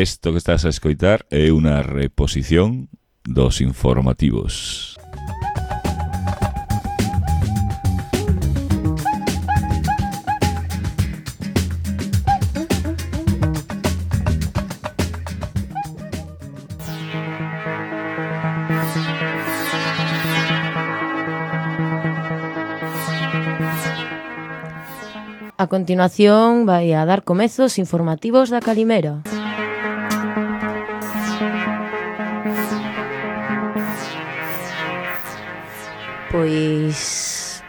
Isto que estás a escoitar é unha reposición dos informativos. A continuación vai a dar comezos informativos da Calimera. Pois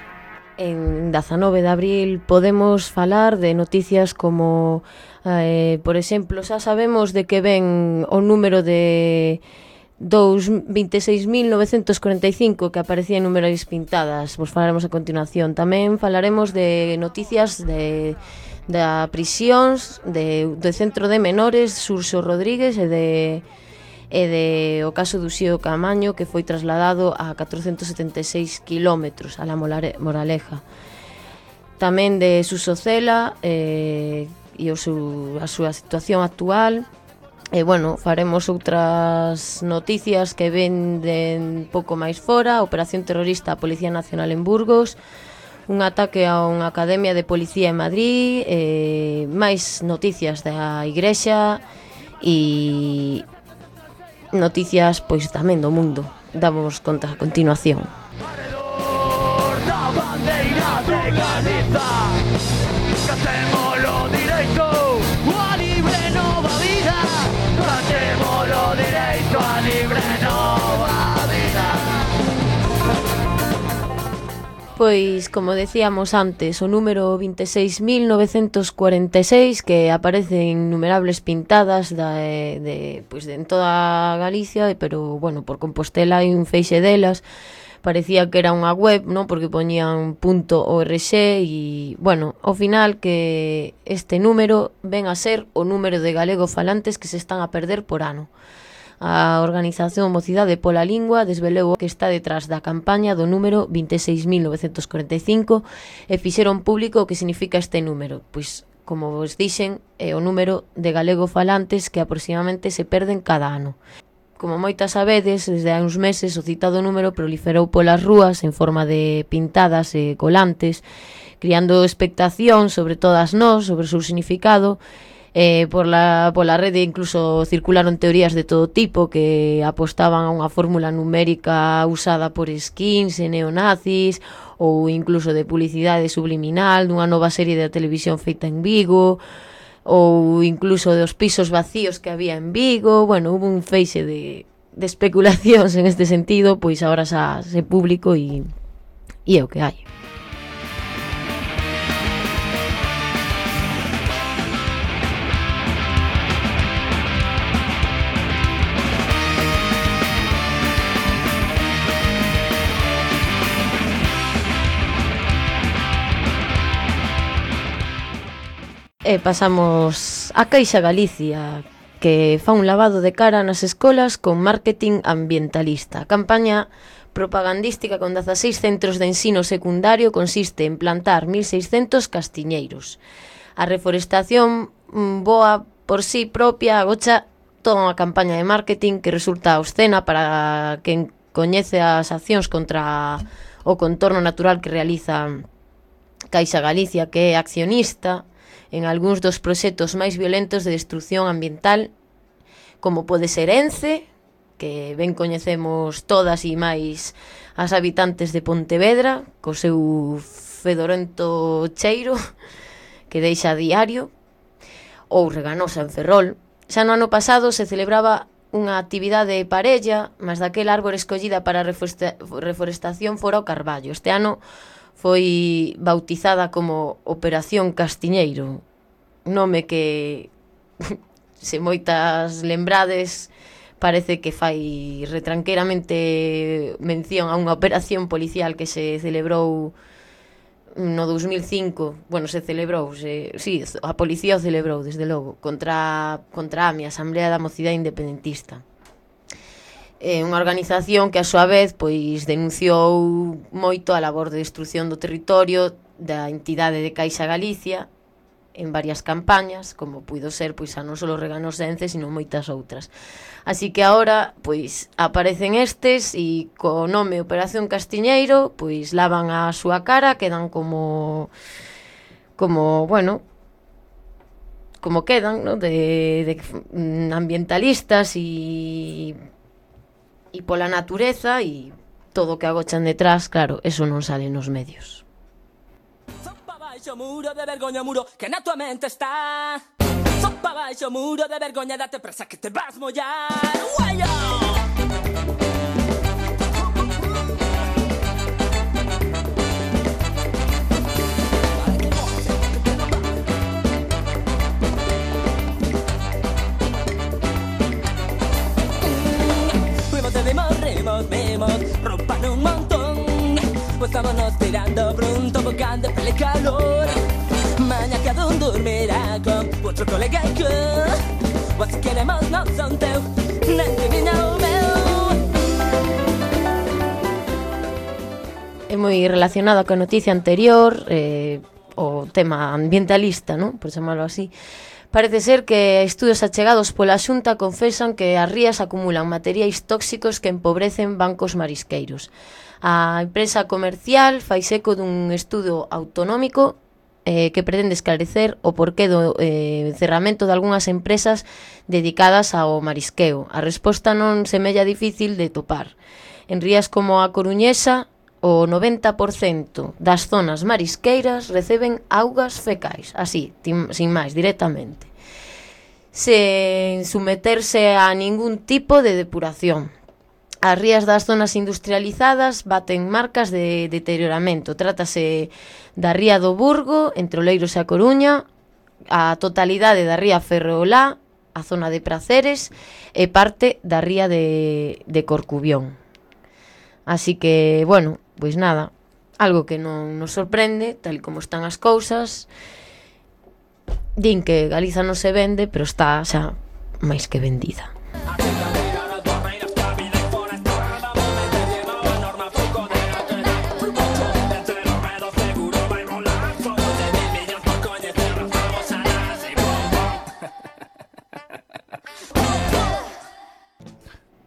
en 19 de abril podemos falar de noticias como por exemplo, xa sabemos de que ven o número de 26.945 que aparecía en números pintadas. Vos falaremos a continuación. Tamén falaremos de noticias da prisións do Centro de Menores Xurxo Rodríguez e de o caso do Uxío Camaño, que foi trasladado a 476 kilómetros a la Moraleja. Tamén de Suso Cela e a súa situación actual. E, bueno, faremos outras noticias que venden pouco máis fora. Operación terrorista a Policía Nacional en Burgos, un ataque a unha academia de policía en Madrid, máis noticias da Igrexa e noticias pois tamén do mundo. Damos conta a continuación. Pois, como decíamos antes, o número 26.946 que aparece en innumerables pintadas pois en toda Galicia, pero, bueno, por Compostela hai un feixe delas. Parecía que era unha web, non? Porque poñían .org e, bueno, ao final que este número ven a ser o número de galego-falantes que se están a perder por ano. A organización Mocidade pola Lingua desvelou que está detrás da campaña do número 26.945 e fixeron público o que significa este número. Pois, como vos dixen, é o número de galego-falantes que aproximadamente se perden cada ano. Como moitas sabedes, desde hai uns meses o citado número proliferou polas rúas en forma de pintadas e colantes, criando expectación sobre todas nós, sobre o seu significado. Pola rede incluso circularon teorías de todo tipo que apostaban a unha fórmula numérica usada por skins e neonazis, ou incluso de publicidade subliminal dunha nova serie de televisión feita en Vigo, ou incluso dos pisos vacíos que había en Vigo. Bueno, hubo un feixe de especulacións en este sentido, pois agora xa se público e é o que hai. E pasamos a Caixa Galicia, que fa un lavado de cara nas escolas con marketing ambientalista. A campaña propagandística con 16 centros de ensino secundario consiste en plantar 1.600 castiñeiros. A reforestación boa por sí propia agocha toda unha campaña de marketing que resulta obscena para quen coñece as accións contra o contorno natural que realiza Caixa Galicia, que é accionista en algúns dos proxectos máis violentos de destrucción ambiental, como pode ser Ence, que ben coñecemos todas e máis as habitantes de Pontevedra, co seu fedorento cheiro que deixa a diario, ou Reganosa en Ferrol. Xa no ano pasado se celebraba unha actividade parella, mas daquela árbore escollida para a reforestación fora o carballo. Este ano foi bautizada como Operación Castiñeiro, nome que, se moitas lembrades, parece que fai retranqueiramente mención a unha operación policial que se celebrou no 2005. Bueno, se celebrou, sí, a policía o celebrou, desde logo, contra a AMI, a Asamblea da Mocidade Independentista. Unha organización que a súa vez pois denunciou moito a labor de destrucción do territorio da entidade de Caixa Galicia en varias campañas, como puido ser pois a non só Reganosense, sino moitas outras. Así que agora pois aparecen estes e co nome Operación Castiñeiro pois lavan a súa cara, quedan como bueno, como quedan, ¿no? de ambientalistas e pola natureza e todo o que agochan detrás, claro, eso non sale nos medios. Muro de vergoña, muro que na tua mente está. Sopa baixo, muro de vergoña, date presa que te vas mollar. Guayo! Fuimos, vemos, rompan un montón. Pues vámonos tirando pronto, bocando pele calor. Maña cada un dormirá con otro colega que o así queremos non son teu, nen de miña o meu. É moi relacionado coa noticia anterior, o tema ambientalista, ¿no? Por chamarlo así. Parece ser que estudios achegados pola Xunta confesan que as rías acumulan materiais tóxicos que empobrecen bancos marisqueiros. A empresa comercial fai eco dun estudo autonómico que pretende esclarecer o porqué do cerramento de algunhas empresas dedicadas ao marisqueo. A resposta non semella difícil de topar. En rías como a Coruñesa, o 90% das zonas marisqueiras reciben augas fecais, así, sin máis, directamente, sen someterse a ningún tipo de depuración. As rías das zonas industrializadas baten marcas de deterioramento. Trátase da ría do Burgo, entre Oleiros e a Coruña, a totalidade da ría Ferrolá, a zona de Praceres, e parte da ría de Corcubión. Así que, bueno, pois nada, algo que non nos sorprende, tal como están as cousas. Din que Galiza non se vende, pero está xa máis que vendida.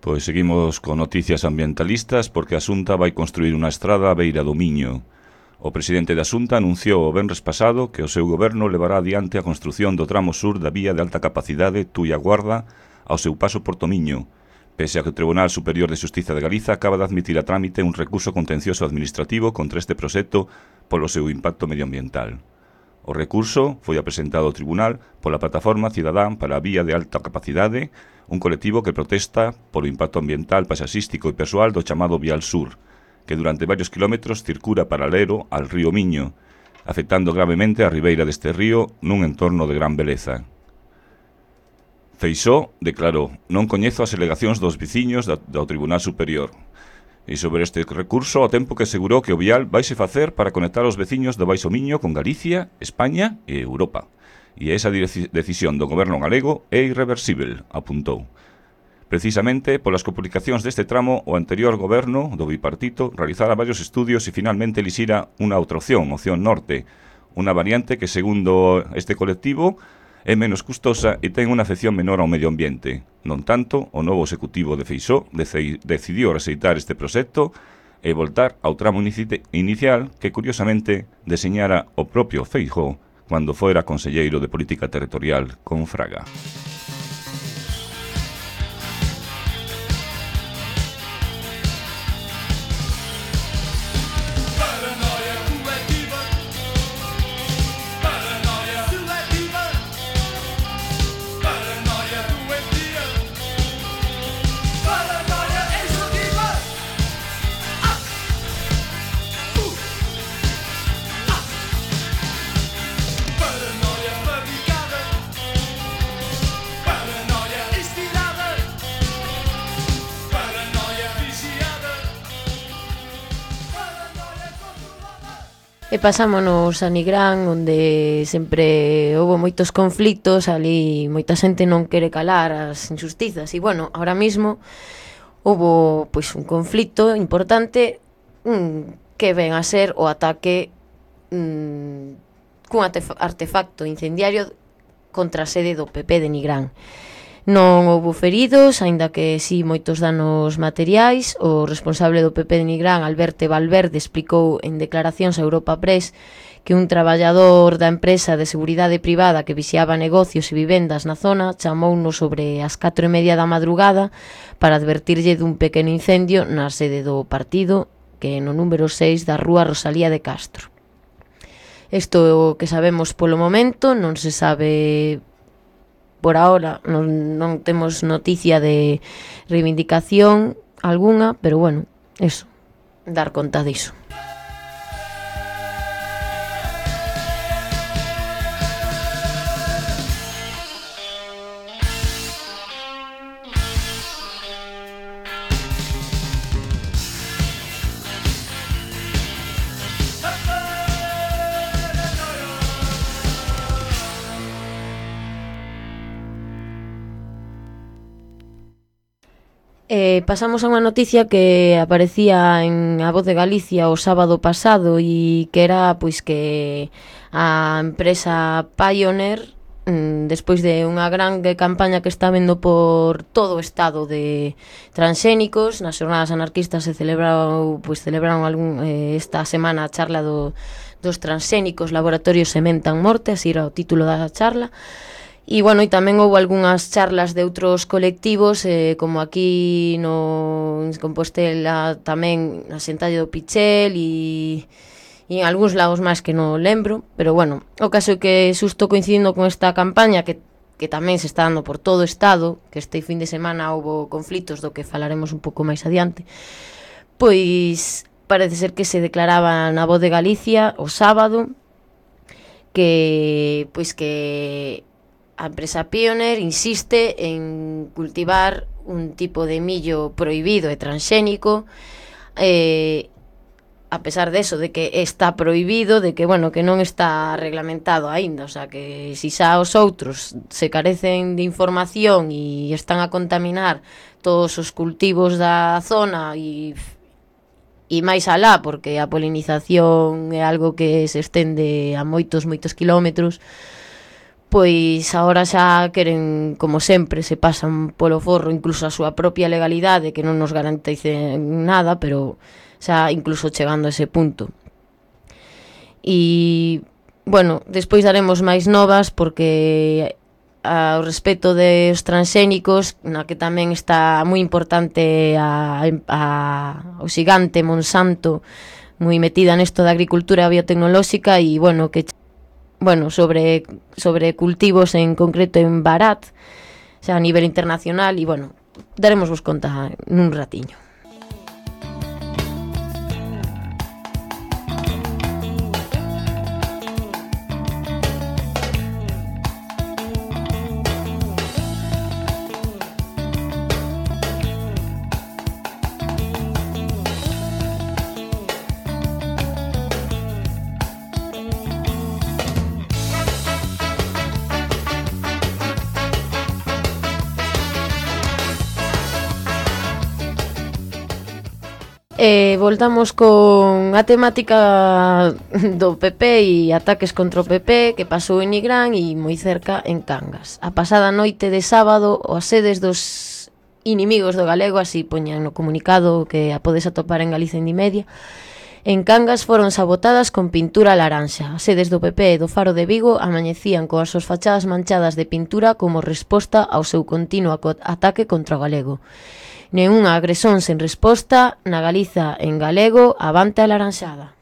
Pois seguimos con noticias ambientalistas porque a Xunta vai construir unha estrada á beira do Miño. O presidente da Xunta anunciou o venres pasado que o seu goberno levará adiante a construción do tramo sur da vía de alta capacidade Tuia-Guarda ao seu paso por Tomiño, pese a que o Tribunal Superior de Xustiza de Galiza acaba de admitir a trámite un recurso contencioso administrativo contra este proxecto polo seu impacto medioambiental. O recurso foi apresentado ao tribunal pola Plataforma Cidadán para a Vía de Alta Capacidade, un colectivo que protesta polo impacto ambiental, paisaxístico e persoal do chamado Vial Sur, que durante varios kilómetros circula paralelo ao río Miño, afectando gravemente a ribeira deste río nun entorno de gran beleza. Feixóo declarou: non coñezo as alegacións dos veciños do Tribunal Superior. E sobre este recurso, ao tempo que asegurou que o vial vaise facer para conectar os veciños do Baixo Miño con Galicia, España e Europa. E esa decisión do goberno galego é irreversible, apuntou. Precisamente polas complicacións deste tramo, o anterior goberno do bipartito realizara varios estudios e finalmente elixira unha outra opción norte, unha variante que, segundo este colectivo, é menos custosa e ten unha afección menor ao medio ambiente. Non tanto, o novo executivo de Feixóo decidiu rexeitar este proxecto e voltar ao tramo inicial que, curiosamente, deseñara o propio Feixóo cando fora conselleiro de Política Territorial con Fraga. E pasámonos a Nigrán, onde sempre houve moitos conflitos, ali moita xente non quere calar as injustizas. E, bueno, ahora mismo houve pois, un conflito importante que ven a ser o ataque cun artefacto incendiario contra a sede do PP de Nigrán. Non houbo feridos, aínda que si moitos danos materiais. O responsable do PP de Nigrán, Alberto Valverde, explicou en declaracións a Europa Press que un traballador da empresa de seguridade privada que vixiaba negocios e vivendas na zona chamounos sobre as 4:30 da madrugada para advertirlle dun pequeno incendio na sede do partido, que é no número 6 da rúa Rosalía de Castro. Isto é o que sabemos polo momento, non se sabe por ahora, non temos noticia de reivindicación algunha, pero bueno, eso, dar conta diso. Pasamos a unha noticia que aparecía en A Voz de Galicia o sábado pasado e que era pois que a empresa Pioneer, despois de unha gran campaña que está vendo por todo o estado de transxénicos, nas xornadas anarquistas celebraron esta semana a charla dos transxénicos Laboratorios Sementan Morte, así era o título da charla. E, bueno, e tamén houve algunhas charlas de outros colectivos, como aquí en Compostela, tamén na Xentalle do Pichel e en algúns lados máis que non lembro, pero, bueno, o caso é que xusto coincidindo con esta campaña que tamén se está dando por todo o estado, que este fin de semana houve conflitos do que falaremos un pouco máis adiante, pois parece ser que se declaraba na Voz de Galicia o sábado que a empresa Pioneer insiste en cultivar un tipo de millo prohibido e transxénico, a pesar de eso, de que está prohibido, de que, bueno, que non está reglamentado aínda, o sea, que si xa os outros se carecen de información e están a contaminar todos os cultivos da zona e máis alá, porque a polinización é algo que se estende a moitos kilómetros, pois agora xa queren, como sempre, se pasan polo forro incluso a súa propia legalidade, que non nos garantice nada, pero xa incluso chegando a ese punto. E, bueno, despois daremos máis novas, porque ao respecto dos transxénicos, na que tamén está moi importante o xigante Monsanto, moi metida nesto da agricultura biotecnolóxica, e, bueno, que sobre cultivos en concreto en Barat, xa a nivel internacional, e, bueno, daremos vos conta nun ratiño. Voltamos con a temática do PP e ataques contra o PP que pasou en Nigrán e moi cerca en Cangas. A pasada noite de sábado, as sedes dos inimigos do galego, así poñan no comunicado que a podes atopar en Galicia Indimedia, en Cangas foron sabotadas con pintura laranxa. As sedes do PP e do Faro de Vigo amañecían coas súas fachadas manchadas de pintura como resposta ao seu continuo ataque contra o galego. Nenhunha agresión sen resposta, na Galiza en galego, avante a laranxada.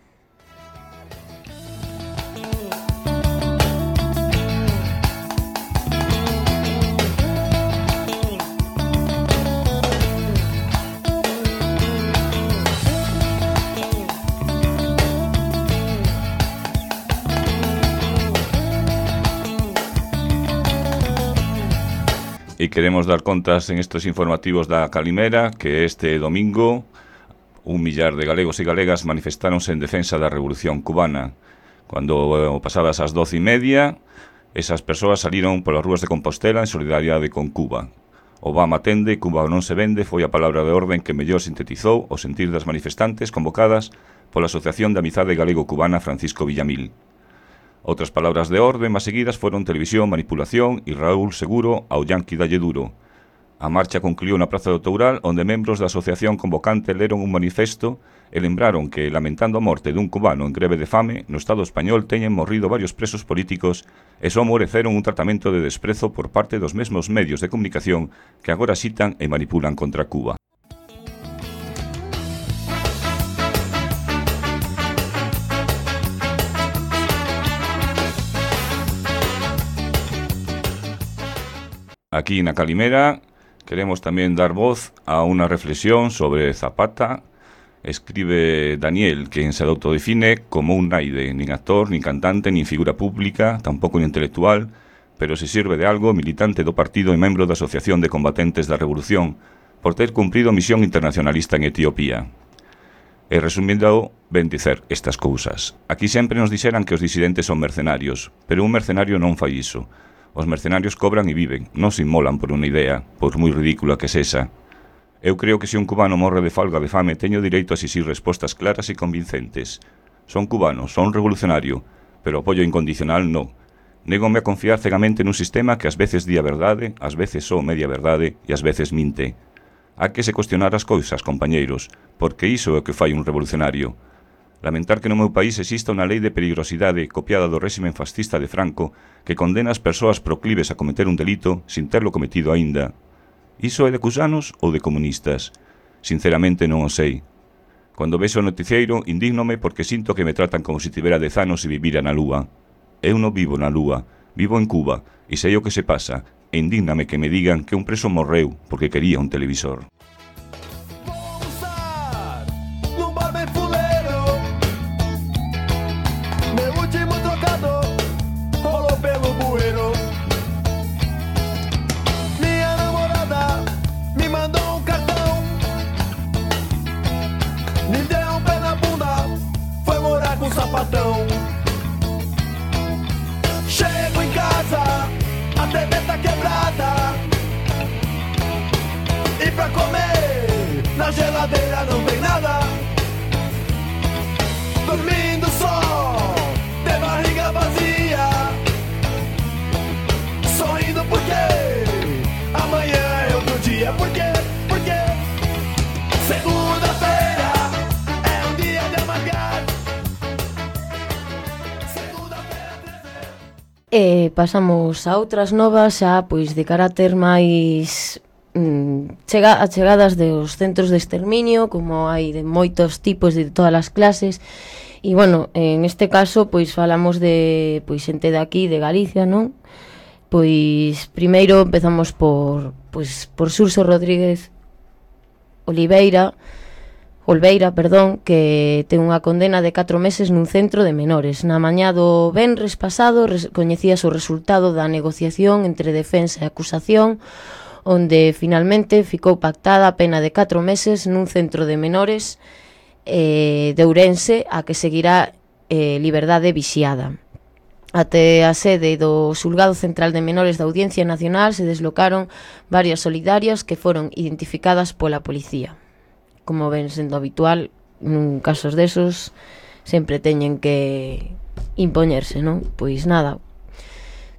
E queremos dar contas en estos informativos da Calimera que este domingo 1 millar de galegos e galegas manifestáronse en defensa da Revolución Cubana. Cando pasadas as 12:30, esas persoas saliron polas rúas de Compostela en solidariedade con Cuba. Obama atende, Cuba non se vende, foi a palabra de orden que mellor sintetizou o sentir das manifestantes convocadas pola Asociación de Amizade Galego-Cubana Francisco Villamil. Outras palabras de orde máis seguidas foron televisión, manipulación e Raúl Seguro ao yanqui dalle duro. A marcha concluiu na Praza do Toural, onde membros da asociación convocante leron un manifesto e lembraron que, lamentando a morte dun cubano en greve de fame, no Estado español teñen morrido varios presos políticos e só mereceron un tratamento de desprezo por parte dos mesmos medios de comunicación que agora citan e manipulan contra Cuba. Aquí na Calimera queremos tamén dar voz a unha reflexión sobre Zapata. Escribe Daniel, quen se autodefine como un naide, nin actor, nin cantante, nin figura pública, tampouco nin intelectual, pero se sirve de algo, militante do partido e membro da Asociación de Combatentes da Revolución, por ter cumprido misión internacionalista en Etiopía. E resumindo, ben dicer estas cousas. Aquí sempre nos dixeran que os disidentes son mercenarios, pero un mercenario non fai iso. Os mercenarios cobran e viven, non se inmolan por unha idea, por moi ridícula que sexa. Eu creo que se un cubano morre de falga de fame, teño direito a exixir respostas claras e convincentes. Son cubano, son revolucionario, pero apoio incondicional non. Négome a confiar cegamente nun sistema que ás veces di a verdade, ás veces só media verdade e ás veces minte. Há que se cuestionar as cousas, compañeiros, porque iso é o que fai un revolucionario. Lamentar que no meu país exista unha lei de peligrosidade copiada do réximen fascista de Franco que condena as persoas proclives a cometer un delito sin terlo cometido aínda. Iso é de cusanos ou de comunistas? Sinceramente non o sei. Cando vexo o noticieiro, indígnome porque sinto que me tratan como se tivera 10 anos e vivira na lúa. Eu non vivo na lúa, vivo en Cuba, e sei o que se pasa, e indígname que me digan que un preso morreu porque quería un televisor. Chego em casa, a TV tá quebrada, e pra comer na geladeira não tem nada. Dormindo só, de barriga vazia, sorrindo porque amanhã é outro dia. Por quê? Porque segunda-feira é um dia de amargar. E pasamos a outras novas xa pois de carácter máis chegadas dos centros de exterminio, como hai de moitos tipos de todas as clases. E bueno, en este caso pois falamos de pois xente de aquí, de Galicia, non? Pois primeiro empezamos por Xurxo Rodríguez Olveira, que ten unha condena de 4 meses nun centro de menores. Na mañá do venres pasado coñecíase o resultado da negociación entre defensa e acusación, onde finalmente ficou pactada a pena de 4 meses nun centro de menores de Ourense, a que seguirá liberdade vixiada. Até a sede do Xulgado Central de Menores da Audiencia Nacional se deslocaron varias solidarias que foron identificadas pola policía. Como ven sendo habitual, nun casos desos sempre teñen que impoñerse, non? Pois nada,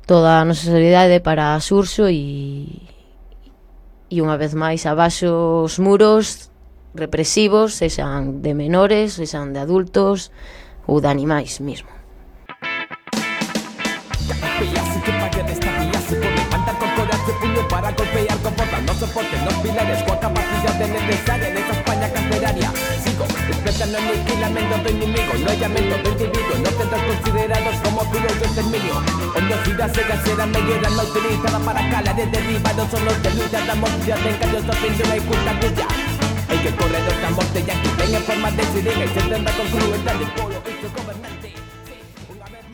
toda a nosa solidariedade para Xurxo e unha vez máis abaixo os muros represivos, sexan de menores, sexan de adultos ou de animais mesmo. Para golpear comportando soporte, los pilares con capacidad de necesaria en esa España carcelaria. Sigo, expresando aniquilamiento de enemigos, no hay llamento de individuos, no tendrás considerados como filos de exterminio. Hondosidad se casera, medida no utilizada para calar de derivados, son los de lucha, damos días de engaños, de pintura y culta tuya. El que corre de otra muerte y aquí ven en forma de sirena y se tendrá con crueldad de polo y su gobernante.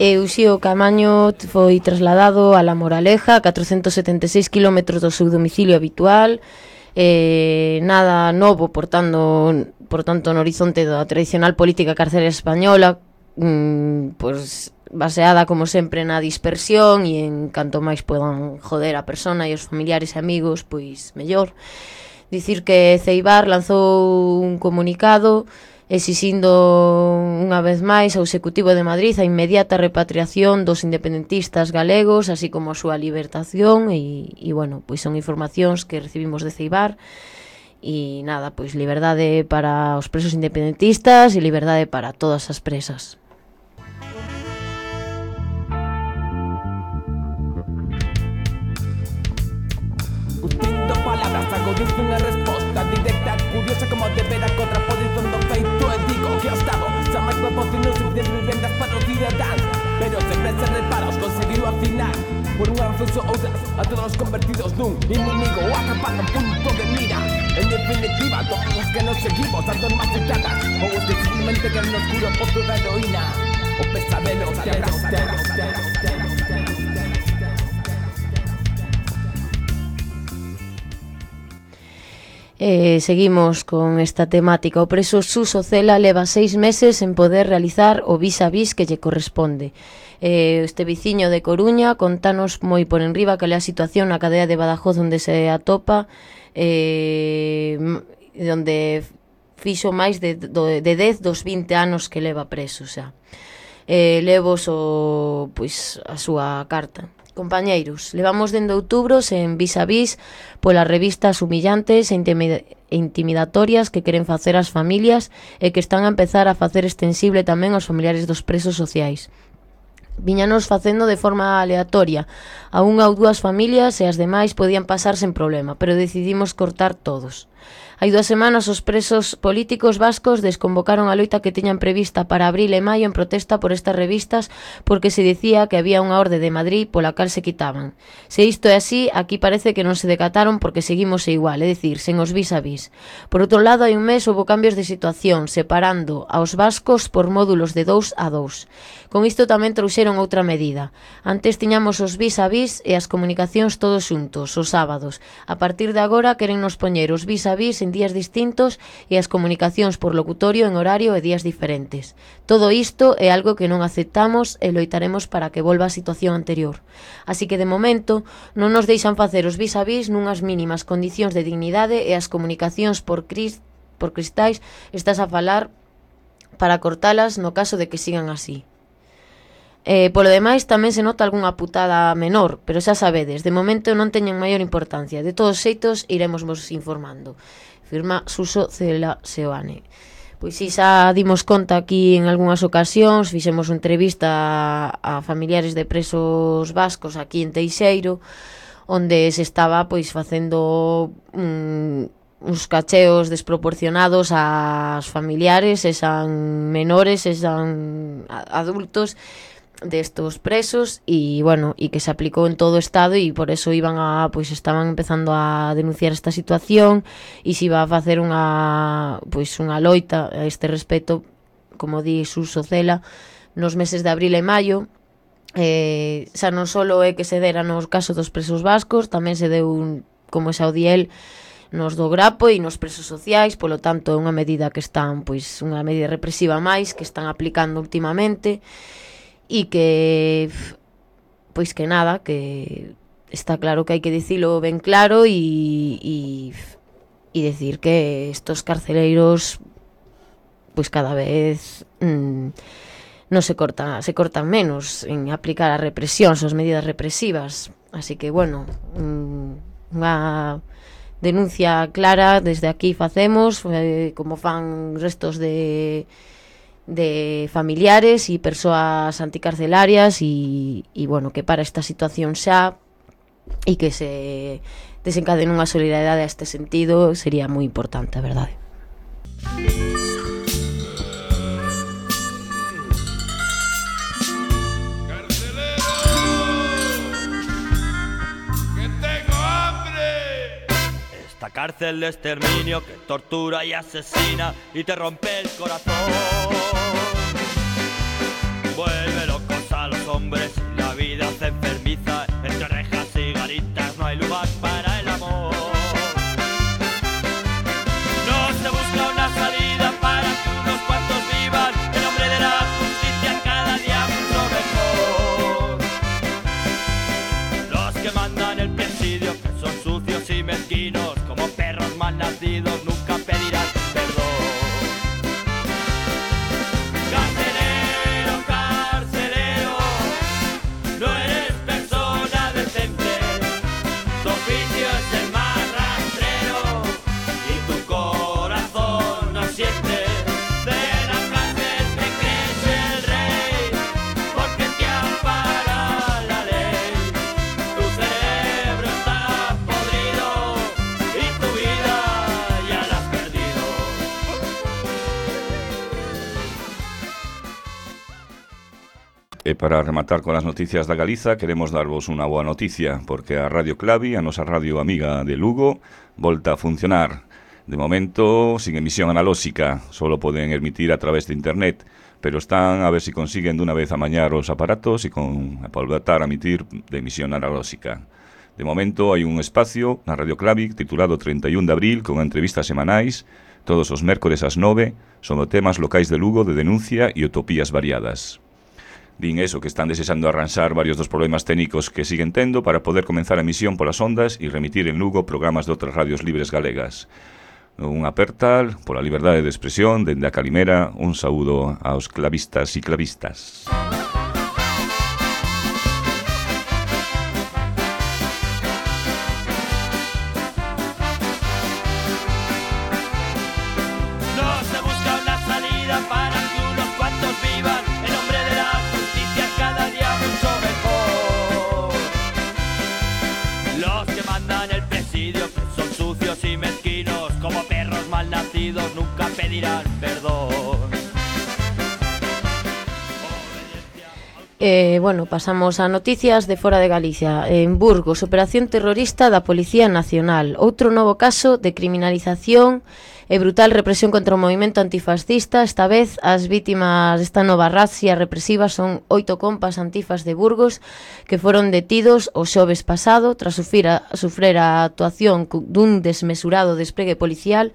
Uxío Camaño foi trasladado a La Moraleja, a 476 km do seu domicilio habitual. Nada novo, por tanto, no horizonte da tradicional política carcelaria española, pois baseada, como sempre, na dispersión e en canto máis podan joder a persona e os familiares e amigos, pois mellor. Dicir que Ceibar lanzou un comunicado exixindo unha vez máis ao Executivo de Madrid a inmediata repatriación dos independentistas galegos, así como a súa libertación e bueno, pois son informacións que recibimos de Ceibar e nada, pois liberdade para os presos independentistas e liberdade para todas as presas. Utindo palabras, agudizo unha resposta directa, curiosa como de ver a contraposición do feito e digo que o Estado xa máis proporcionou suficientes vivendas para os cidadáns, pero sempre se reparos conseguiu afinar por unha razón ou outras a todos os convertidos nun inimigo ou atrapado en punto de mira. En definitiva, todos os que nos seguimos tanto en más ciudadanas ou os que simplemente quedan no oscuro pozo da heroína o pesadelo te abraza. Seguimos con esta temática. O preso Suso Cela leva 6 meses en poder realizar o vis a vis que lle corresponde. Este veciño de Coruña contanos moi por enriba cal é a situación na cadea de Badajoz onde se atopa, onde fixo máis de 10 dos 20 anos que leva preso xa. Levos a súa carta. Compañeiros, levamos dende outubro sen vis a vis polas revistas humillantes e intimidatorias que queren facer as familias e que están a empezar a facer extensible tamén aos familiares dos presos sociais. Viñanos facendo de forma aleatoria a unha ou dúas familias e as demais podían pasar sen problema, pero decidimos cortar todos. Hai 2 semanas os presos políticos vascos desconvocaron a loita que tiñan prevista para abril e maio en protesta por estas revistas porque se dicía que había unha orde de Madrid pola cal se quitaban. Se isto é así, aquí parece que non se decataron porque seguimos igual, é dicir, sen os vis a vis. Por outro lado, hai un mes houve cambios de situación, separando aos vascos por módulos de 2 a 2. Con isto tamén trouxeron outra medida. Antes tiñamos os vis a vis e as comunicacións todos xuntos, os sábados. A partir de agora queren nos poñer os vis a vis en días distintos e as comunicacións por locutorio en horario e días diferentes. Todo isto é algo que non aceptamos e loitaremos para que volva a situación anterior. Así que de momento non nos deixan facer os vis a vis nunhas mínimas condicións de dignidade e as comunicacións por cristais estás a falar para cortalas no caso de que sigan así. Polo demais tamén se nota algunha putada menor, pero xa sabedes, de momento non teñen maior importancia. De todos xeitos iremos vos informando. Firma Suso Cela Seoane. Pois si xa dimos conta aquí en algunhas ocasións, fixemos unha entrevista a familiares de presos vascos aquí en Teixeiro, onde se estaba pois facendo uns cacheos desproporcionados ás familiares, esan menores, esan adultos destos presos e bueno, e que se aplicou en todo o estado e por eso estaban empezando a denunciar esta situación e se iba a facer unha loita a este respecto, como di Suso Cela, nos meses de abril e maio. Xa non só é que se dera no caso dos presos vascos, tamén se deu, como xa o di el, nos do Grapo e nos presos sociais, polo tanto é unha medida que están, unha medida represiva máis que están aplicando últimamente. E que nada, que está claro que hai que dicilo ben claro e decir que estos carceleiros cada vez non se cortan menos en aplicar a represión, as medidas represivas. Así que unha denuncia clara desde aquí facemos, como fan restos de familiares e persoas anticarcelarias e que para esta situación xa e que se desencadene unha solidaridade a este sentido sería moi importante, a verdade. Esta cárcel de exterminio que tortura y asesina y te rompe el corazón. Vuelve locos a los hombres y la vida se enfermiza. Entre rejas y garitas no hay lugar para el amor. No se busca una salida para que unos cuantos vivan en nombre de la justicia cada día mucho mejor. Los que mandan el presidio, que son sucios y mezquinos, como perros mal nacidos, nunca pedirán perdón. E para rematar con as noticias da Galiza, queremos darvos unha boa noticia, porque a Radio Clavi, a nosa radio amiga de Lugo, volta a funcionar. De momento, sin emisión analóxica, solo poden emitir a través de internet, pero están a ver se consiguen dunha vez amañar os aparatos e voltar a emitir de emisión analóxica. De momento, hai un espacio na Radio Clavi titulado 31 de abril con entrevistas semanais, todos os mércores ás 9, sobre temas locais de Lugo de denuncia e utopías variadas. Din eso, que están desexando arranxar varios dos problemas técnicos que siguen tendo para poder comenzar a emisión polas ondas e remitir en Lugo programas de outras radios libres galegas. Un apertal pola liberdade de expresión dende a Calimera, un saúdo aos clavistas e clavistas. Nunca pedirán perdón. Bueno, pasamos a noticias de fora de Galicia. En Burgos, operación terrorista da Policía Nacional. Outro novo caso de criminalización e brutal represión contra o movimento antifascista. Esta vez, as vítimas desta nova razzia represiva son 8 compas antifas de Burgos que foron detidos o xoves pasado tras sufrir a actuación dun desmesurado despregue policial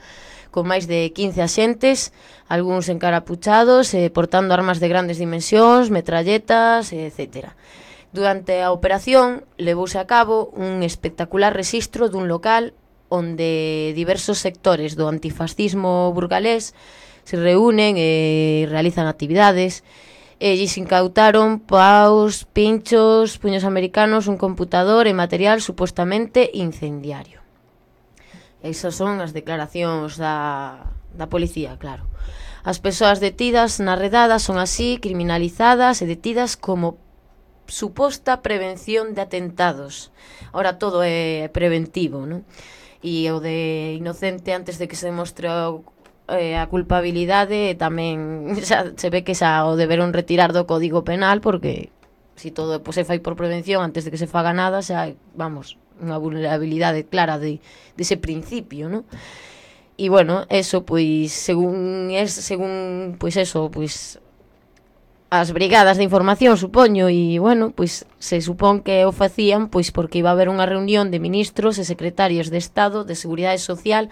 con máis de 15 axentes, algúns encarapuchados, portando armas de grandes dimensións, metralletas, etc. Durante a operación, levouse a cabo un espectacular rexistro dun local onde diversos sectores do antifascismo burgalés se reúnen e realizan actividades, e lles incautaron paus, pinchos, puños americanos, un computador e material supostamente incendiario. Esas son as declaracións da policía, claro. As persoas detidas na redada son así criminalizadas e detidas como suposta prevención de atentados. Ahora todo é preventivo, non? E o de inocente antes de que se demostre a culpabilidade tamén xa se ve que xa o deberon retirar do Código Penal, porque se todo se fai por prevención antes de que se faga nada, xa, vamos, unha vulnerabilidade clara de ese principio, ¿no? E bueno, eso, pois, según pois eso, pois as brigadas de información, supoño, e bueno, pois se supón que o facían pois porque iba a haber unha reunión de ministros e secretarios de Estado de Seguridade Social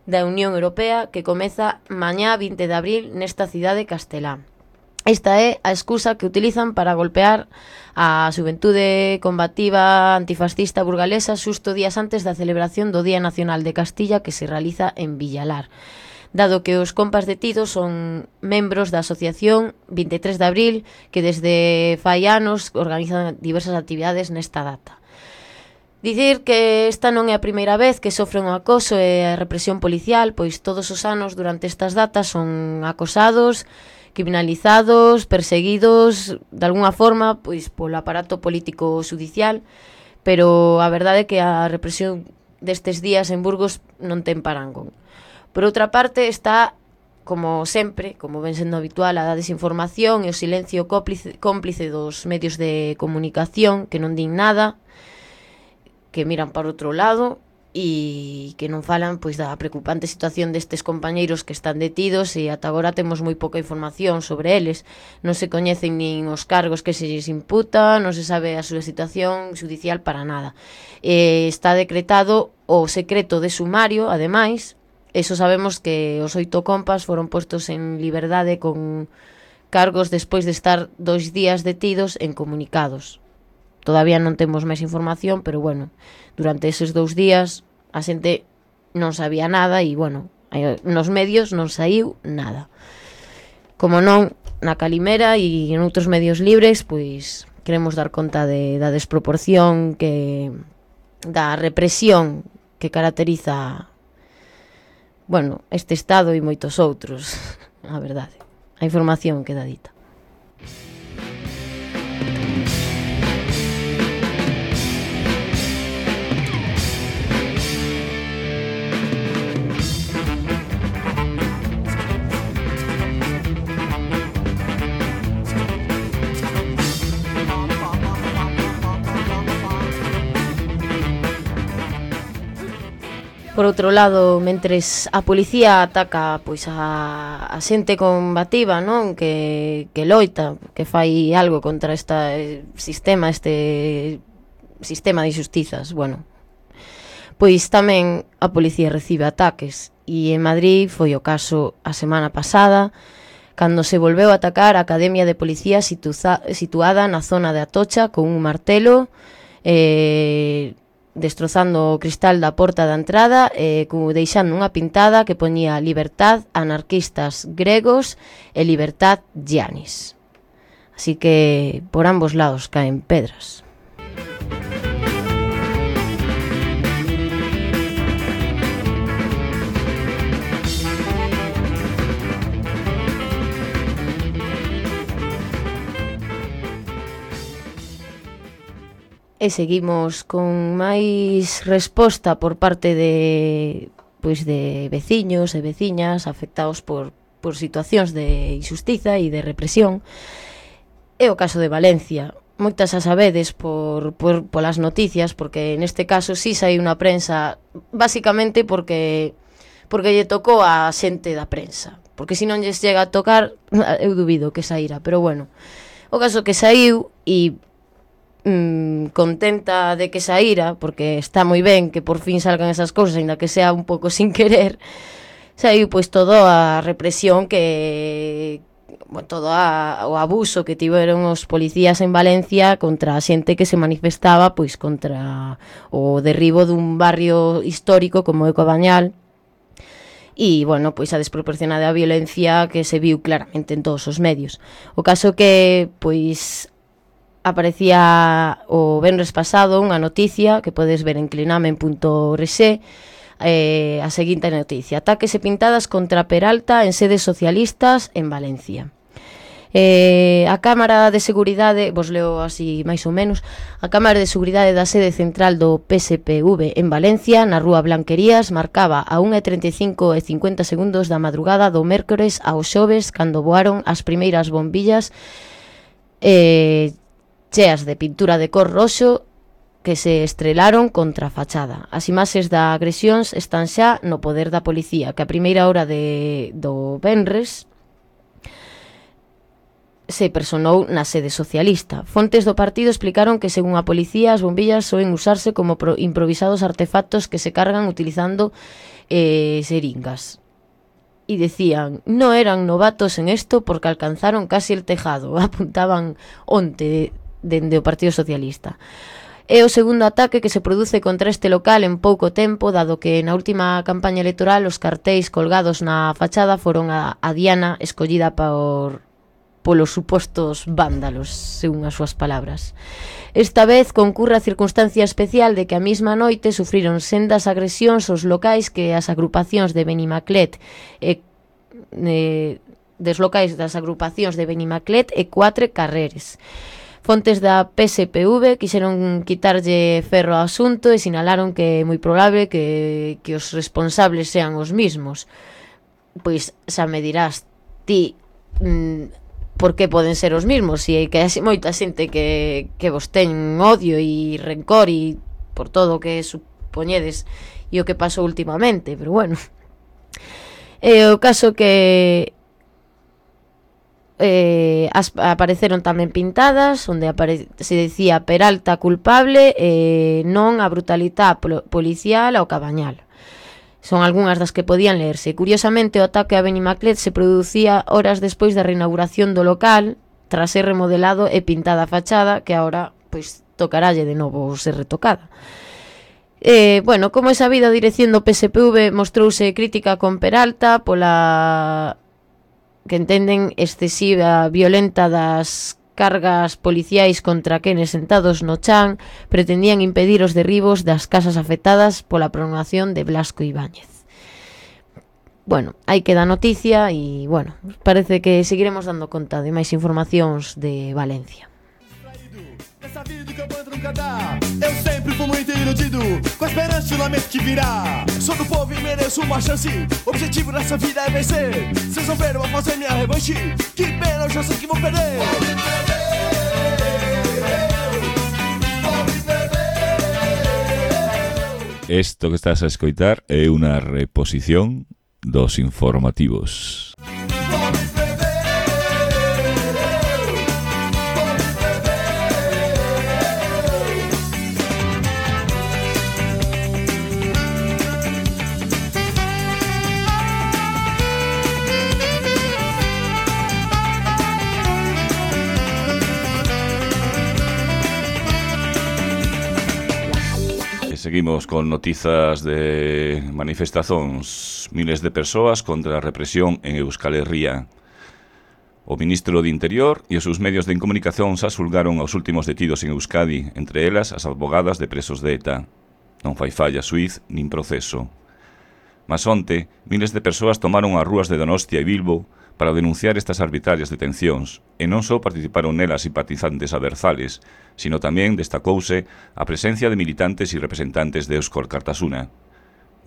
da Unión Europea que comeza mañá 20 de abril nesta cidade castelá. Esta é a excusa que utilizan para golpear a xuventude combativa antifascista burgalesa xusto días antes da celebración do Día Nacional de Castilla que se realiza en Villalar. Dado que os compas detidos son membros da asociación 23 de abril que desde fai anos organizan diversas actividades nesta data. Dicir que esta non é a primeira vez que sofren o acoso e a represión policial, pois todos os anos durante estas datas son acosados, criminalizados, perseguidos de alguna forma pois polo aparato político judicial, pero a verdade é que a represión destes días en Burgos non ten parangón. Por outra parte está, como sempre, como ven sendo habitual, a desinformación e o silencio cómplice dos medios de comunicación que non din nada, que miran para outro lado e que non falan pois da preocupante situación destes compañeiros que están detidos e ata agora temos moi pouca información sobre eles. Non se coñecen nin os cargos que se lles imputa, non se sabe a súa situación judicial para nada. Está decretado o secreto de sumario, ademais, eso sabemos que os 8 compas foron postos en liberdade con cargos despois de estar 2 días detidos en comunicados. Todavía non temos máis información, pero bueno, durante eses 2 días a xente non sabía nada e, bueno, nos medios non saiu nada. Como non, na Calimera e en outros medios libres, pois queremos dar conta da desproporción da represión que caracteriza, bueno, este Estado e moitos outros, a verdade. A información queda dita. Por outro lado, mentres a policía ataca pois a xente combativa, non? Que loita, que fai algo contra este sistema de injustizas, bueno, pois tamén a policía recibe ataques, e en Madrid foi o caso a semana pasada, cando se volveu a atacar a Academia de Policía situada na zona de Atocha con un martelo, destrozando o cristal da porta da entrada, deixando unha pintada que poñía libertad anarquistas gregos e libertad Giannis. Así que por ambos lados caen pedras. E seguimos con máis resposta por parte de veciños e veciñas afectados por situacións de injustiza e de represión. É o caso de Valencia. Moitas as sabedes polas noticias, porque neste caso sí saiu na prensa, basicamente porque lle tocou a xente da prensa. Porque se non lles chega a tocar, eu dubido que saíra. Pero bueno, o caso que saiu e contenta de que saíra, porque está moi ben que por fin salgan esas cousas, ainda que sea un pouco sin querer, saiu pois toda a represión todo o abuso que tiveron os policías en Valencia contra a xente que se manifestaba pois contra o derribo dun barrio histórico como é Cobañal, e, bueno, pois a desproporcionada violencia que se viu claramente en todos os medios. O caso que, pois, aparecía o venres pasado unha noticia que podes ver en clinamen.org, a seguinte noticia: ataques e pintadas contra Peralta en sedes socialistas en Valencia. A Cámara de Seguridade, vos leo así máis ou menos, a Cámara de Seguridade da sede central do PSPV en Valencia, na rúa Blanquerías, marcaba a 1:35:50 da madrugada do mércores ao xoves cando voaron as primeiras bombillas cheas de pintura de cor roxo que se estrelaron contra a fachada. As imaxes da agresións están xa no poder da policía, que a primeira hora do venres se personou na sede socialista. Fontes do partido explicaron que, según a policía, as bombillas soen usarse como improvisados artefactos que se cargan utilizando seringas. Y decían, no eran novatos en esto porque alcanzaron casi el tejado, apuntaban onte dende o Partido Socialista. É o segundo ataque que se produce contra este local en pouco tempo, dado que na última campaña electoral os cartéis colgados na fachada foron a diana escollida polos supostos vándalos, según as súas palabras. Esta vez concurre a circunstancia especial de que a mesma noite sufriron sendas agresións aos locais que as agrupacións de Benimaclet des locais das agrupacións de Benimaclet e Cuatre Carreres. Fontes da PSPV quixeron quitarlle ferro ao asunto e sinalaron que é moi probable que os responsables sean os mismos. Pois xa me dirás ti por que poden ser os mismos, se que hai moita xente que vos ten odio e rencor e por todo o que supoñedes e o que pasou últimamente, pero bueno. O caso que apareceron tamén pintadas onde se decía Peralta culpable non a brutalidade policial ao Cabañal. Son algunhas das que podían lerse. Curiosamente, o ataque a Benimaclet se producía horas despois da reinauguración do local, tras ser remodelado e pintada a fachada, que agora pois tocaralle de novo ser retocada. Bueno, como é sabido, a dirección do PSPV mostrouse crítica con Peralta pola que entenden excesiva violenta das cargas policiais contra quenes sentados no chan pretendían impedir os derribos das casas afectadas pola prolongación de Blasco Ibáñez. Bueno, aí queda a noticia e, bueno, parece que seguiremos dando conta de máis informacións de Valencia. Essa vida que eu vou nunca dar. Eu sempre fui muito iludido, com a esperança e o lamento que virá. Sou do povo e mereço uma chance. O objetivo dessa vida é vencer. Vocês vão ver, eu vou fazer minha revanche. Que pena, eu já sei que vou perder. Isto que estás a escoitar é unha reposición dos informativos. Seguimos con notizas de manifestacións. Miles de persoas contra a represión en Euskal Herria. O ministro de Interior e os seus medios de comunicación xa xulgaron aos últimos detidos en Euskadi, entre elas as advogadas de presos de ETA. Non fai falla xuíz nin proceso. Mas onte, miles de persoas tomaron as rúas de Donostia e Bilbo para denunciar estas arbitrarias detencións, e non só participaron nelas simpatizantes averzales, sino tamén destacouse a presencia de militantes e representantes de Eusko Alkartasuna.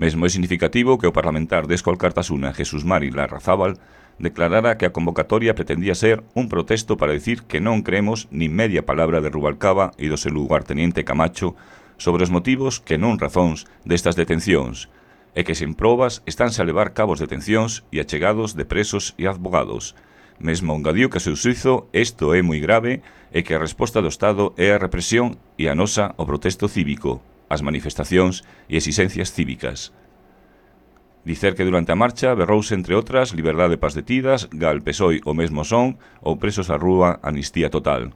Mesmo é significativo que o parlamentar de Eusko Alkartasuna, Jesús Mari Larrazábal, declarara que a convocatoria pretendía ser un protesto para dicir que non creemos nin media palabra de Rubalcaba e do seu lugarteniente Camacho sobre os motivos que non razóns destas detencións, e que sen probas estánse a levar cabos detencións e achegados de presos e advogados. Mesmo engadiu que a seu xuízo isto é moi grave e que a resposta do Estado é a represión e a nosa o protesto cívico, as manifestacións e exixencias cívicas. Dicer que durante a marcha berrouse, entre outras, liberdade pas detidas, gal PSOE o mesmo son ou presos á rúa, amnistía total.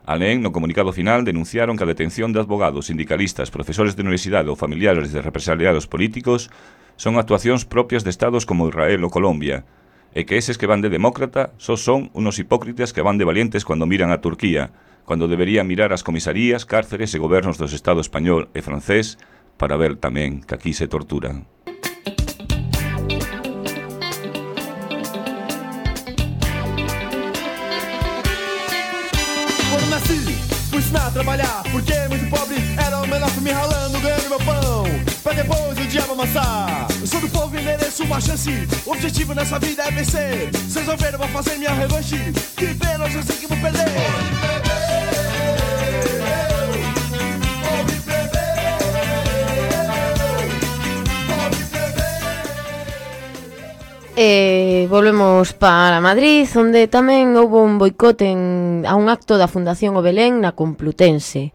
Alén, no comunicado final, denunciaron que a detención de advogados, sindicalistas, profesores de universidade ou familiares de represaliados políticos son actuacións propias de estados como Israel ou Colombia, e que eses que van de demócrata só son unos hipócritas que van de valientes cando miran a Turquía, cando deberían mirar as comisarías, cárceres e gobernos dos Estados español e francés para ver tamén que aquí se torturan. Ensinar a trabalhar, porque muito pobre era o melhor pra me ralando, ganhando meu pão, pra depois o diabo amassar. Eu sou do povo e mereço uma chance. O objetivo nessa vida é vencer. Vocês vão ver, eu vou fazer minha revanche. Que pena, eu sei que vou perder. Volvemos para Madrid, onde tamén houve un boicot a un acto da Fundación O Belén na Complutense.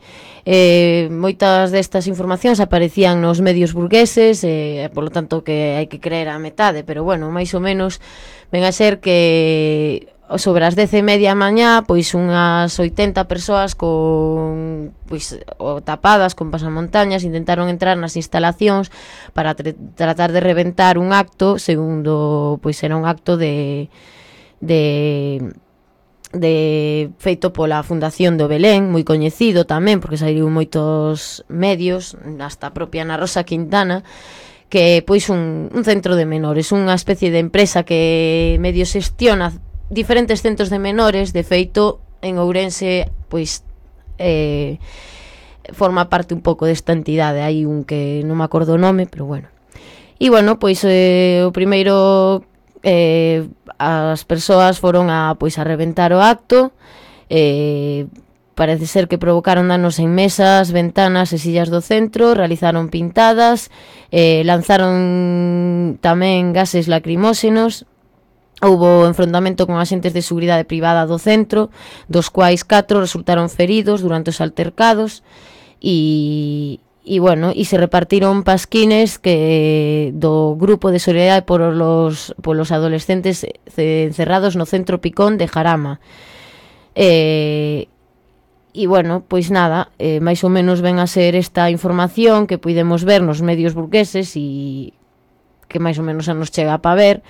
Moitas destas informacións aparecían nos medios burgueses, por lo tanto que hai que creer a metade, pero bueno, máis ou menos ven a ser que sobre as 10:30 a mañá, pois unhas 80 persoas con tapadas con pasamontañas intentaron entrar nas instalacións para tratar de reventar un acto, segundo, pois era un acto de feito pola Fundación do Belén, moi coñecido tamén, porque saíron moitos medios, hasta a propia Ana Rosa Quintana, que pois un centro de menores, unha especie de empresa que medio xestiona diferentes centros de menores. De feito, en Ourense, pois forma parte un pouco desta entidade. Hai un que non me acordo o nome, pero bueno. E bueno, pois o primeiro, as persoas foron a reventar o acto. Parece ser que provocaron danos en mesas, ventanas e sillas do centro, realizaron pintadas, lanzaron tamén gases lacrimóxenos. Houbo enfrontamento con axentes de seguridade privada do centro, dos quais 4 resultaron feridos durante os altercados e se repartiron pasquines que do grupo de solidariedade polos adolescentes encerrados no centro Picón de Jarama. Pois nada, máis ou menos ven a ser esta información que puidemos ver nos medios burgueses e que máis ou menos a nos chega para ver.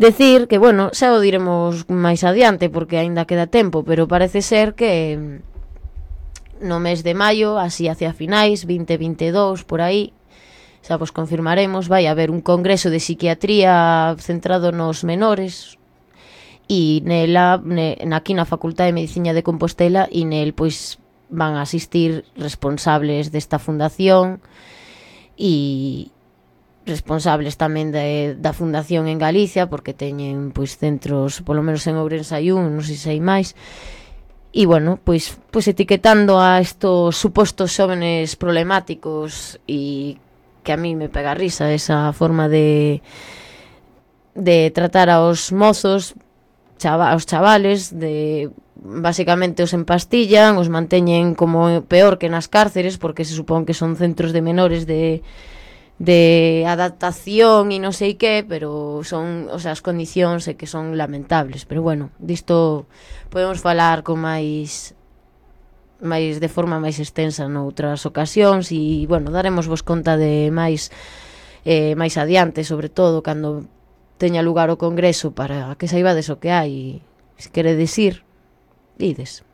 Decir que, bueno, xa o diremos máis adiante porque aínda queda tempo, pero parece ser que no mes de maio, así hacia finais, 2022, por aí, xa vos confirmaremos, vai haber un congreso de psiquiatría centrado nos menores e nela, aquí na Facultade de Medicina de Compostela, e nel pois van a asistir responsables desta fundación e responsables tamén da fundación en Galicia, porque teñen pois centros, polo menos en Ourense hai un, non sei se hai máis. E bueno, pois etiquetando a estos supostos xóvenes problemáticos e que a mí me pega risa esa forma de tratar aos mozos, aos chavales, de basicamente os empastillan, os manteñen como peor que nas cárceres, porque se supón que son centros de menores de adaptación e non sei que, pero son, o sea, as condicións que son lamentables. Pero bueno, disto podemos falar con máis de forma máis extensa noutras ocasións e, bueno, daremos vos conta de máis adiante, sobre todo cando teña lugar o congreso, para que saibades o que hai. Se queredes ir, ides.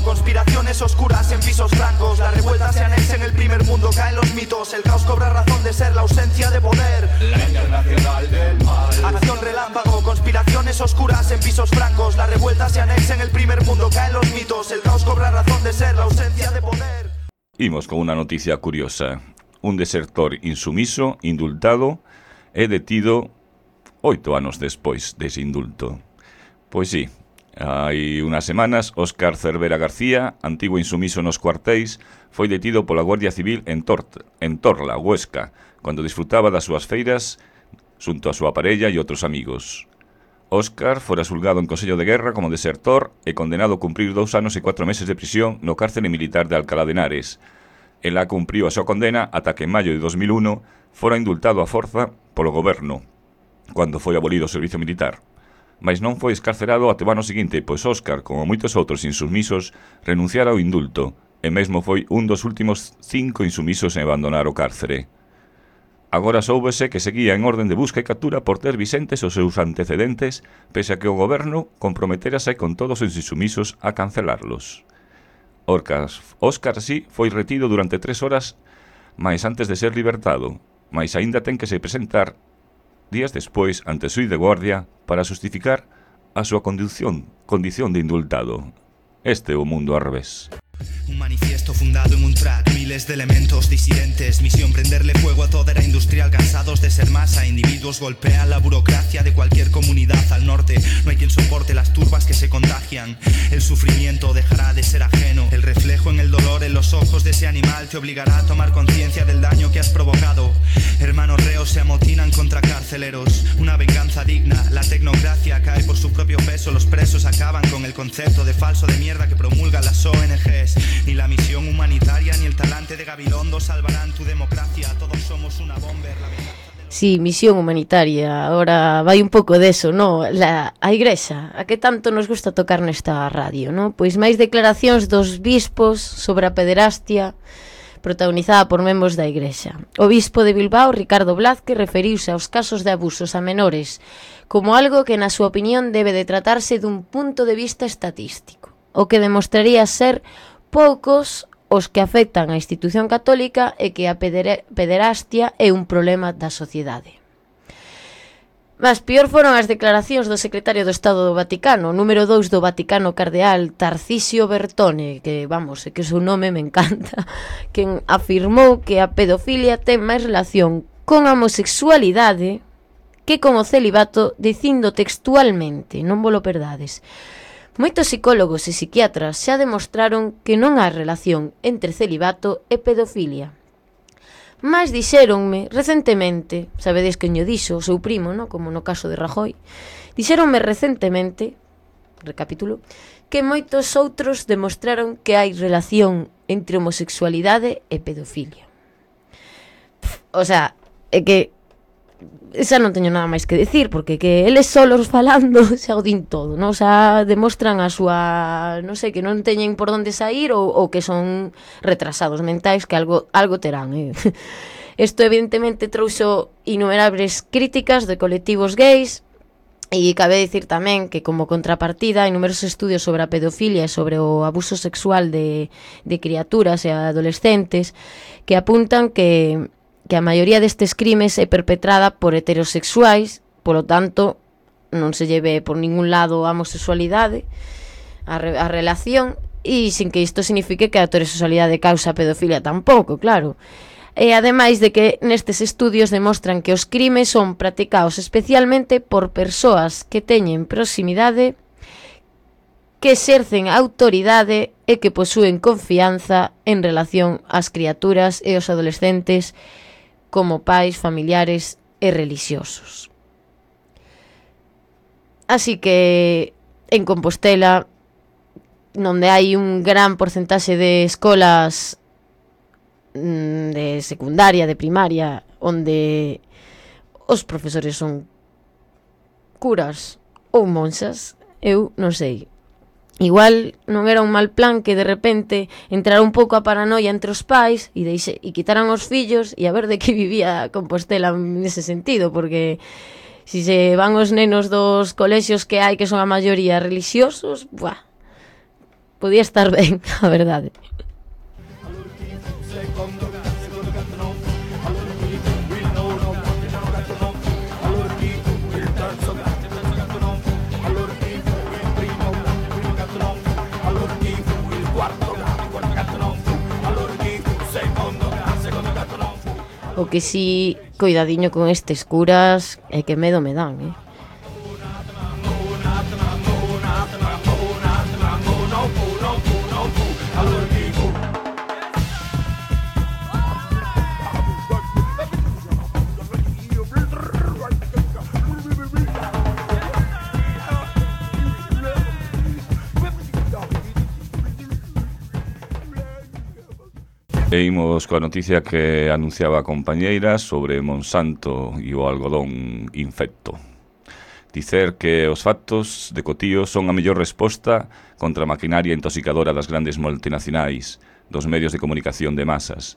Conspiraciones oscuras en pisos francos. La revuelta se anexa en el primer mundo. Caen los mitos. El caos cobra razón de ser. La ausencia de poder. La internacional del mal. Acción relámpago. Conspiraciones oscuras en pisos francos. La revuelta se anexa en el primer mundo. Caen los mitos. El caos cobra razón de ser. La ausencia de poder. Imos con unha noticia curiosa. Un desertor insumiso, indultado, é detido 8 anos despois dese indulto. Pois sí, hai unhas semanas, Óscar Cervera García, antigo insumiso nos cuartéis, foi detido pola Guardia Civil en Torla, Huesca, cando disfrutaba das súas feiras xunto a súa parella e outros amigos. Óscar fora xulgado en Consello de Guerra como desertor e condenado a cumprir 2 anos e 4 meses de prisión no cárcere militar de Alcalá de Henares. Ela cumpriu a súa condena ata que en maio de 2001 fora indultado a forza polo goberno, cando foi abolido o servizo militar. Mas non foi escarcerado até o ano seguinte, pois Óscar, como moitos outros insumisos, renunciara ao indulto, e mesmo foi un dos últimos 5 insumisos en abandonar o cárcere. Agora soubese que seguía en orden de busca e captura por ter visentes os seus antecedentes, pese a que o goberno comprometerase con todos os insumisos a cancelarlos. Óscar, sí, foi retido durante 3 horas, mais antes de ser libertado, mas aínda ten que se presentar días despois ante o xuíz de guardia para justificar a súa condición de indultado. Este é o mundo ao revés. Un manifiesto fundado en un track, miles de elementos disidentes. Misión prenderle fuego a toda era industrial. Cansados de ser masa, individuos golpean la burocracia de cualquier comunidad al norte. No hay quien soporte las turbas que se contagian. El sufrimiento dejará de ser ajeno. El reflejo en el dolor en los ojos de ese animal te obligará a tomar conciencia del daño que has provocado. Hermanos reos se amotinan contra carceleros. Una venganza digna, la tecnocracia cae por su propio peso. Los presos acaban con el concepto de falso de mierda que promulgan las ONGs. Ni la misión humanitaria ni el talante de Gabilondo salvarán tu democracia. Todos somos una bomber. Sí, misión humanitaria. Ahora vai un pouco deso, no? A igrexa, a que tanto nos gusta tocar nesta radio, no? Pois máis declaracións dos bispos sobre a pederastia protagonizada por membros da igrexa. O bispo de Bilbao, Ricardo Blázquez, referiuse aos casos de abusos a menores como algo que, na súa opinión, debe de tratarse dun punto de vista estatístico, o que demostraría ser poucos os que afectan a institución católica e que a pederastia é un problema da sociedade. Mas pior foron as declaracións do secretario do Estado do Vaticano, número 2 do Vaticano, cardeal Tarcisio Bertone, que, vamos, é que o seu nome me encanta, quen afirmou que a pedofilia ten máis relación con a homosexualidade que con o celibato, dicindo textualmente, non vos lo perdades: moitos psicólogos e psiquiatras xa demostraron que non hai relación entre celibato e pedofilia. Mas dixéronme recentemente, sabedes que o dixo o seu primo, no? Como no caso de Rajoy, dixéronme recentemente, recapitulo, que moitos outros demostraron que hai relación entre homosexualidade e pedofilia. O sea, é que xa non teño nada máis que decir, porque que eles solos falando xa o din todo, non? Xa demostran a súa, non sei, que non teñen por onde sair ou que son retrasados mentais, que algo terán, Isto evidentemente trouxo innumerables críticas de colectivos gays, e cabe dicir tamén que, como contrapartida, hai numerosos estudios sobre a pedofilia e sobre o abuso sexual de criaturas e adolescentes que apuntan que a maioría destes crimes é perpetrada por heterosexuais, polo tanto, non se lleve por ningún lado a homosexualidade, a relación, e sin que isto signifique que a heterosexualidade causa pedofilia tampouco, claro. E ademais de que nestes estudios demostran que os crimes son practicados especialmente por persoas que teñen proximidade, que exercen autoridade e que posúen confianza en relación ás criaturas e aos adolescentes como pais, familiares e relixiosos. Así que en Compostela, onde hai un gran porcentaxe de escolas de secundaria, de primaria, onde os profesores son curas ou monxas, eu non sei. Igual non era un mal plan que de repente entrara un pouco a paranoia entre os pais e quitaran os fillos e a ver de que vivía Compostela nese sentido, porque si se van os nenos dos colexios que hai que son a maioría relixiosos, podía estar ben, a verdade. O que si, coidadiño con estes curas, é que medo me dan, E imos coa noticia que anunciaba a compañeira sobre Monsanto e o algodón infecto. Dicer que os factos de Cotío son a mellor resposta contra a maquinaria intoxicadora das grandes multinacionais, dos medios de comunicación de masas.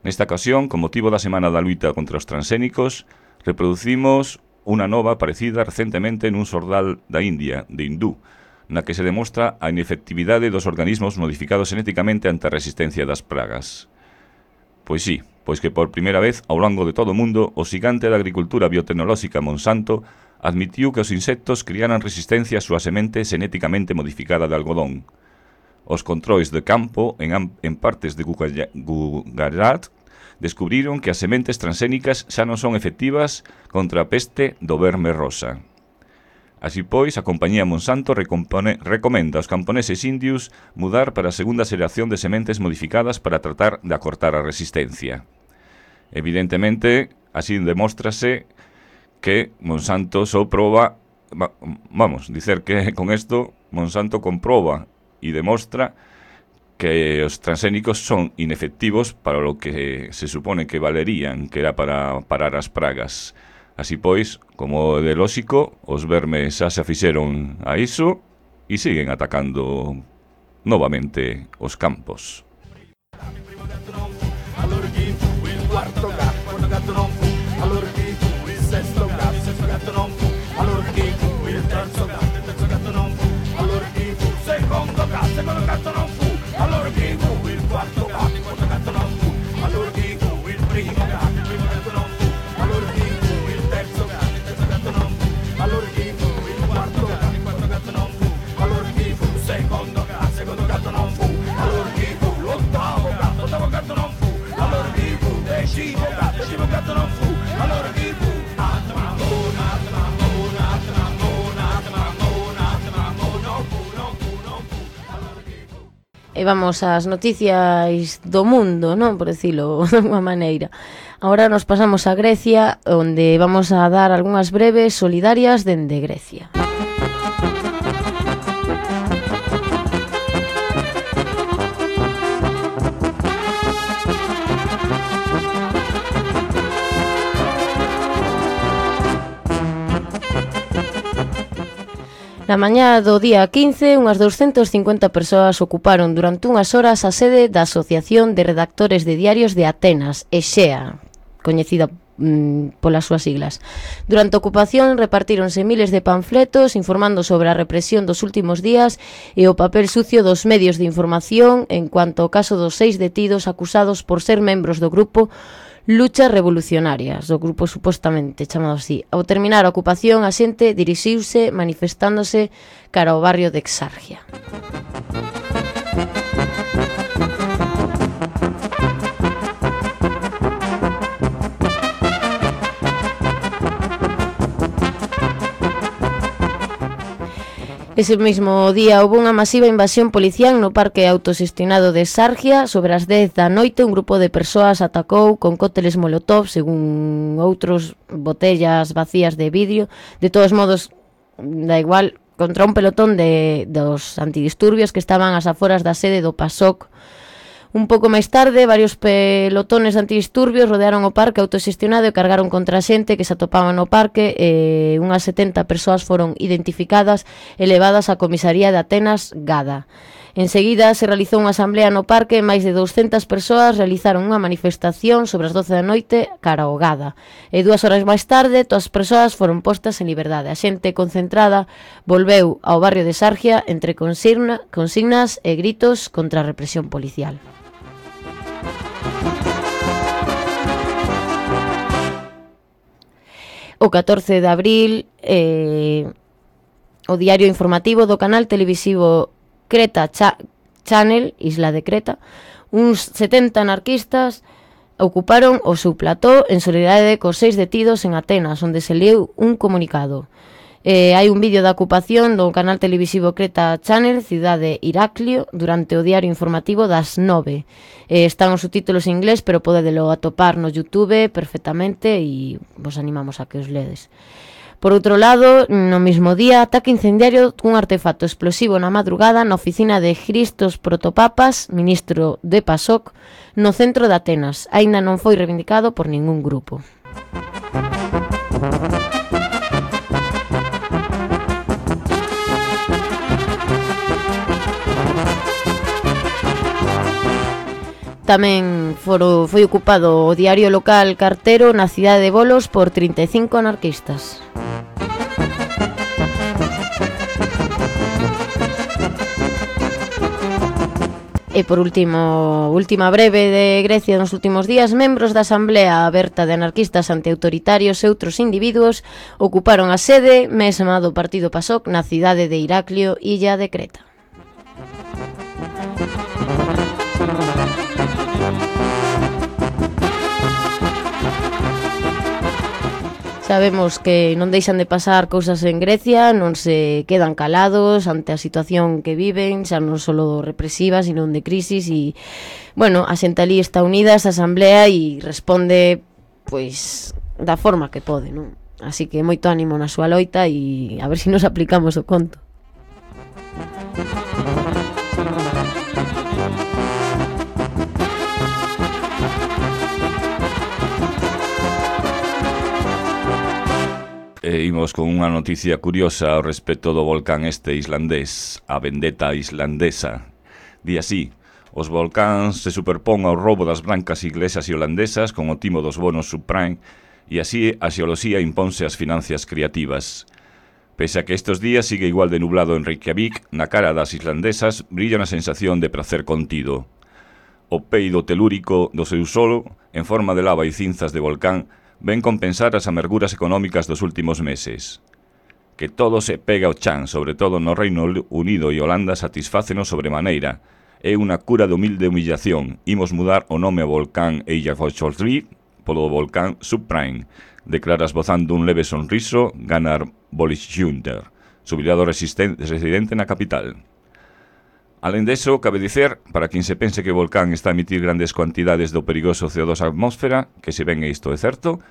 Nesta ocasión, con motivo da Semana da Luita contra os Transxénicos, reproducimos unha nova aparecida recentemente nun xordal da India, de Hindú, na que se demostra a inefectividade dos organismos modificados genéticamente ante a resistencia das pragas. Pois sí, pois que por primeira vez ao longo de todo o mundo o xigante da agricultura biotecnolóxica Monsanto admitiu que os insectos criaran resistencia á súa semente genéticamente modificada de algodón. Os controis de campo en partes de Gujarat descubriron que as sementes transxénicas xa non son efectivas contra a peste do verme rosa. Así pois, a compañía Monsanto recomenda aos camponeses indios mudar para a segunda xeración de sementes modificadas para tratar de acortar a resistencia. Evidentemente, así demóstrase que Monsanto só proba, dicer que con isto Monsanto comproba e demostra que os transxénicos son inefectivos para lo que se supone que valerían, que era para parar as pragas. Así pois, como de lóxico, os vermes xa se afixeron a iso e siguen atacando novamente os campos. E vamos ás noticias do mundo, non? Por decirlo de unha maneira. Agora nos pasamos a Grecia, onde vamos a dar algunhas breves solidarias dende Grecia. Na mañá do día 15, unhas 250 persoas ocuparon durante unhas horas a sede da Asociación de Redactores de Diarios de Atenas, EXEA, coñecida polas súas siglas. Durante a ocupación repartíronse miles de panfletos informando sobre a represión dos últimos días e o papel sucio dos medios de información en cuanto ao caso dos 6 detidos acusados por ser membros do grupo Luchas revolucionarias, do grupo supostamente chamado así. Ao terminar a ocupación, a xente dirixiuse manifestándose cara ao barrio de Exargia. Ese mesmo día houve unha masiva invasión policial no parque autoxestionado de Exargia. Sobre as 10 da noite un grupo de persoas atacou con cócteles molotov, según outros, botellas vacías de vidrio. De todos modos, da igual, contra un pelotón dos antidisturbios que estaban ás aforas da sede do PASOK. Un pouco máis tarde, varios pelotones antidisturbios rodearon o parque autoxestionado e cargaron contra a xente que se atopaban no parque. Unhas 70 persoas foron identificadas e levadas á comisaría de Atenas, Gada. Enseguida se realizou unha asamblea no parque e máis de 200 persoas realizaron unha manifestación sobre as 12 da noite cara ao Gada. E 2 horas máis tarde, todas as persoas foron postas en liberdade. A xente concentrada volveu ao barrio de Exargia entre consignas e gritos contra a represión policial. O 14 de abril, o diario informativo do canal televisivo Creta Channel, Isla de Creta, uns 70 anarquistas ocuparon o seu plató en solidaridade cos 6 detidos en Atenas, onde se leu un comunicado. Hai un vídeo da ocupación do canal televisivo Creta Channel, cidade Iraklio, durante o diario informativo das 9. Están os subtítulos en inglés, pero podedelo atopar no YouTube perfectamente e vos animamos a que os ledes. Por outro lado, no mesmo día, ataque incendiario cun artefacto explosivo na madrugada na oficina de Christos Protopapas, ministro de PASOK, no centro de Atenas. Aínda non foi reivindicado por ningún grupo. Tamén foi ocupado o diario local Cartero na cidade de Volos por 35 anarquistas. E por última breve de Grecia nos últimos días, membros da Asamblea Aberta de Anarquistas Antiautoritarios e outros individuos ocuparon a sede mesma do partido PASOK na cidade de Iraklio, illa de Creta. Sabemos que non deixan de pasar cousas en Grecia, non se quedan calados ante a situación que viven, xa non só represiva, sino de crisis, e, bueno, a xente ali está unida a esa asamblea e responde, pois, da forma que pode, non? Así que moito ánimo na súa loita e a ver se nos aplicamos o conto. Imos con unha noticia curiosa ao respecto do volcán este islandés, a vendetta islandesa. Di así: os volcáns se superpón ao roubo das brancas iglesas e holandesas con o timo dos bonos subprime, e así a xeoloxía imponse as financias creativas. Pese a que estes días sigue igual de nublado en Reykjavik, na cara das islandesas brilla unha sensación de prazer contido. O peido telúrico do seu solo, en forma de lava e cinzas de volcán, ven compensar as amarguras económicas dos últimos meses. Que todo se pega ao chan, sobre todo no Reino Unido e Holanda, satisfácenos sobremaneira. É unha cura de humilde humillación. Imos mudar o nome ao volcán Eyjafjallajökull polo volcán Subprime, declara esbozando un leve sonriso Gunnar Bollisjunter, xubilado residente na capital. Alén deso, cabe dicer, para quen se pense que o volcán está a emitir grandes cuantidades do perigoso CO2 á atmósfera, que se ven e isto é certo,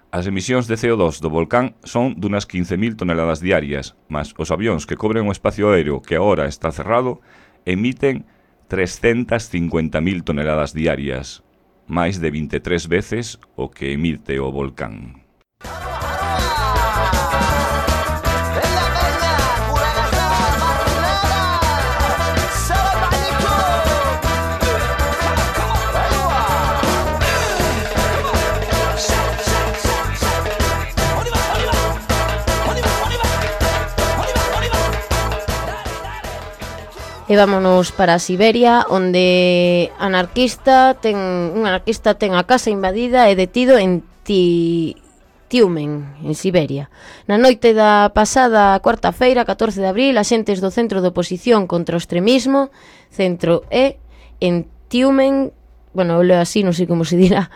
as emisións de CO2 do volcán son dunhas 15.000 toneladas diarias, mas os avións que cobren o espacio aéreo que agora está cerrado emiten 350.000 toneladas diarias, máis de 23 veces o que emite o volcán. E vámonos para Siberia, onde un anarquista ten a casa invadida e detido en Tiumen, en Siberia. Na noite da pasada cuarta-feira, 14 de abril, axentes do Centro de Oposición contra o Extremismo, Centro E, en Tiumen, bueno, eu leo así, non sei como se dirá,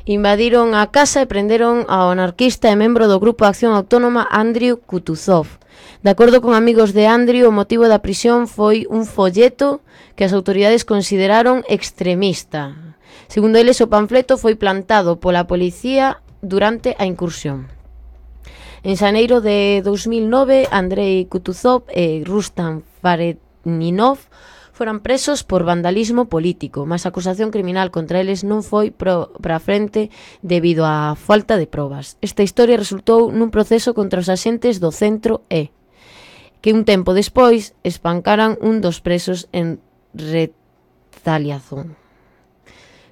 invadiron a casa e prenderon ao anarquista e membro do Grupo de Acción Autónoma Andriy Kutuzov. De acordo con amigos de Andriy, o motivo da prisión foi un folleto que as autoridades consideraron extremista. Segundo eles, o panfleto foi plantado pola policía durante a incursión. En xaneiro de 2009, Andrei Kutuzov e Rustam Faretninov foran presos por vandalismo político, mas a acusación criminal contra eles non foi para frente debido á falta de probas. Esta historia resultou nun proceso contra os axentes do Centro E, que un tempo despois espancaran un dos presos en retaliación.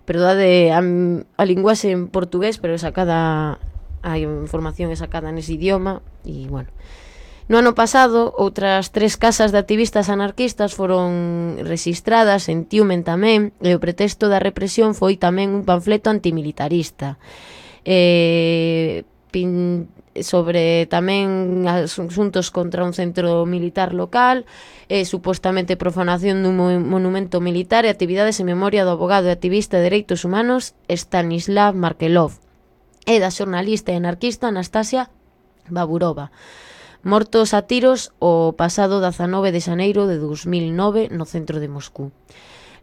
Perdade a linguaxe en portugués, pero a información é sacada nese idioma, e bueno. No ano pasado, outras 3 casas de activistas anarquistas foron rexistradas en Tiumen tamén, e o pretexto da represión foi tamén un panfleto antimilitarista sobre tamén asuntos contra un centro militar local, supostamente profanación dun monumento militar e actividades en memoria do abogado e activista de dereitos humanos Stanislav Markelov e da xornalista e anarquista Anastasia Baburova, mortos a tiros o pasado 19 de xaneiro de 2009 no centro de Moscú.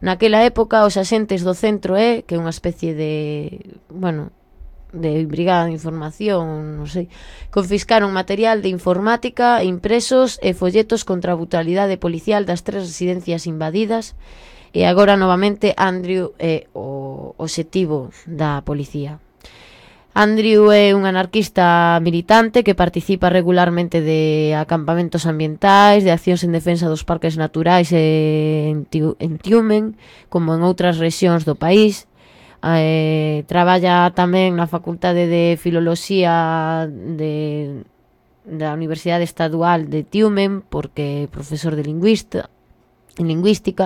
Naquela época, os axentes do Centro E, que é unha especie de brigada de información, non sei, confiscaron material de informática, impresos e folletos contra a brutalidade policial das 3 residencias invadidas, e agora novamente Andriy é o obxectivo da policía. Andriy é un anarquista militante que participa regularmente de acampamentos ambientais, de accións en defensa dos parques naturais en Tiumen, como en outras rexións do país. Traballa tamén na Facultade de Filoloxía da Universidade Estadual de Tiumen, porque é profesor de lingüística.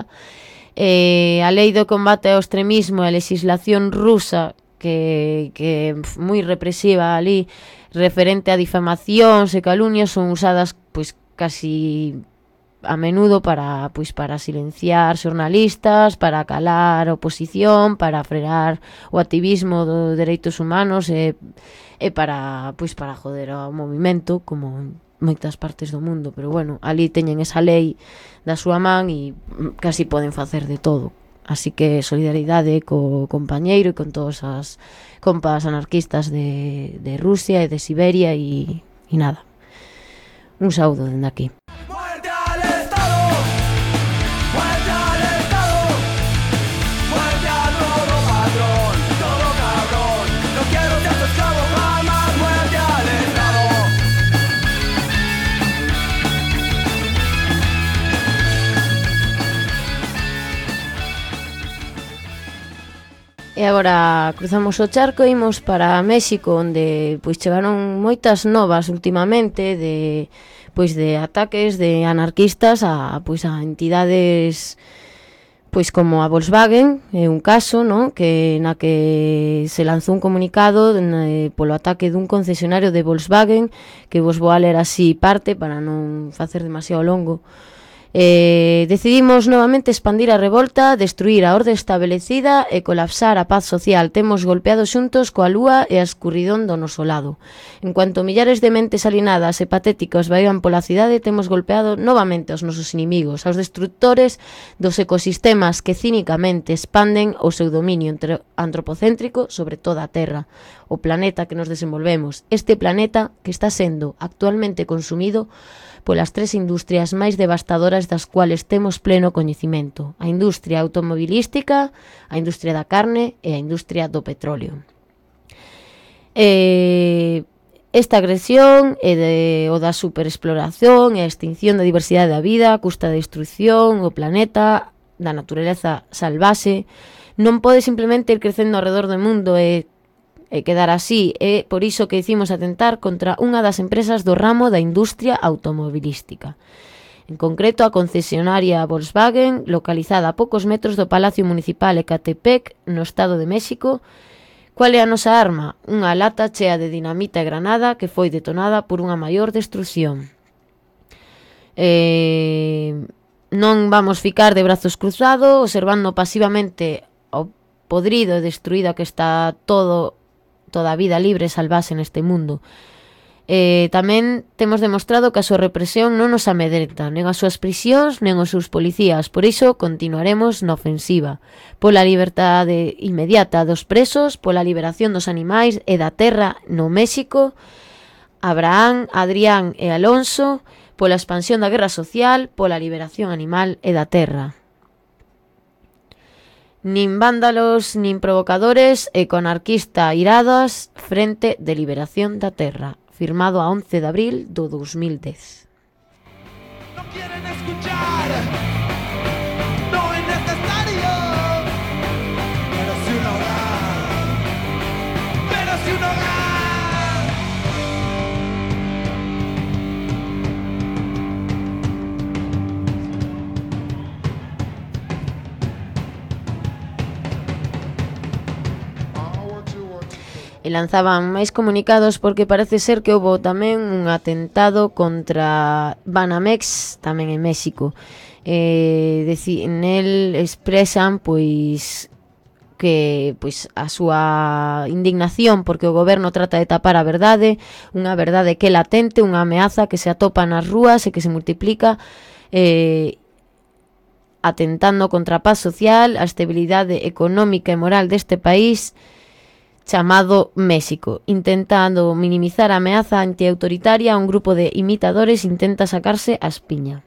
A lei do combate ao extremismo e a legislación rusa que é moi represiva ali, referente a difamacións e calumnias, son usadas pois casi a menudo para silenciar xornalistas, para calar a oposición, para frear o activismo dos dereitos humanos e para joder ao movimento, como en moitas partes do mundo. Pero bueno, ali teñen esa lei da súa man e casi poden facer de todo. Así que solidaridade co compañeiro e con todas as compas anarquistas de Rusia e de Siberia e nada. Un saúdo dende aquí. ¡Muerte al Estado! ¡Muerte al Estado! ¡Muerte a todo patrón! ¡Todo cabrón! ¡No quiero ser tu esclavo jamás! ¡Muerte al Estado! E agora cruzamos o charco e imos para México, onde chegaron moitas novas ultimamente de ataques de anarquistas a entidades como a Volkswagen, é un caso, ¿no?, na que se lanzou un comunicado polo ataque dun concesionario de Volkswagen, que vos vou a ler así parte para non facer demasiado longo. Decidimos novamente expandir a revolta, destruir a orde establecida e colapsar a paz social. Temos golpeado xuntos coa lúa e a escuridón do noso lado. En cuanto millares de mentes alienadas e patéticas vaian pola cidade, temos golpeado novamente aos nosos inimigos, aos destructores dos ecosistemas que cínicamente expanden o seu dominio antropocéntrico sobre toda a Terra, o planeta que nos desenvolvemos. Este planeta que está sendo actualmente consumido polas 3 industrias máis devastadoras das cuales temos pleno coñecimento: a industria automobilística, a industria da carne e a industria do petróleo. Esta agresión é o da superexploración e a extinción da diversidade da vida a custa da destrucción, o planeta, da natureza salvaxe, non pode simplemente ir crecendo alrededor do mundo e quedar así. É por iso que dicimos atentar contra unha das empresas do ramo da industria automobilística. En concreto, a concesionaria Volkswagen, localizada a poucos metros do Palacio Municipal Ecatepec, no Estado de México. Qual é a nosa arma? Unha lata chea de dinamita e granada que foi detonada por unha maior destrucción. Non vamos ficar de brazos cruzados observando pasivamente o podrido e destruída que está toda a vida libre e salvase neste mundo. Tamén temos demostrado que a súa represión non nos amedrenta, nen as súas prisións, nen os seus policías. Por iso continuaremos na ofensiva. Pola liberdade inmediata dos presos, pola liberación dos animais e da terra no México, Abraham, Adrián e Alonso, pola expansión da guerra social, pola liberación animal e da terra. Nin vándalos, nin provocadores e con anarquista iradas frente de liberación da terra. Firmado a 11 de abril do 2010. No quieren escuchar, no es necesario, pero si un hogar, pero si un hogar. E lanzaban máis comunicados porque parece ser que houve tamén un atentado contra Banamex tamén en México. Nel expresan que a súa indignación porque o goberno trata de tapar a verdade, unha verdade que é latente, unha ameaza que se atopa nas rúas e que se multiplica, atentando contra a paz social, a estabilidade económica e moral deste país chamado México. Intentando minimizar a ameaza antiautoritaria, un grupo de imitadores intenta sacarse a espiña.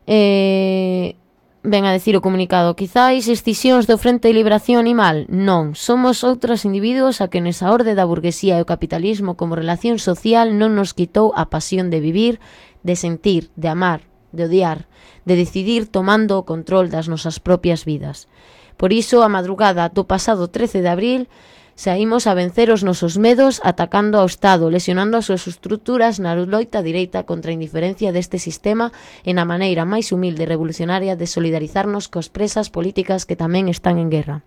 Ven a decir o comunicado: quizáis escisións do Frente de Liberación Animal? Non, somos outros individuos a que nesa orde da burguesía e o capitalismo como relación social non nos quitou a pasión de vivir, de sentir, de amar, de odiar, de decidir tomando o control das nosas propias vidas. Por iso, a madrugada do pasado 13 de abril, saímos a vencer os nosos medos atacando ao Estado, lesionando as súas estruturas na loita direita contra a indiferencia deste sistema e na maneira máis humilde e revolucionaria de solidarizarnos cos presas políticas que tamén están en guerra.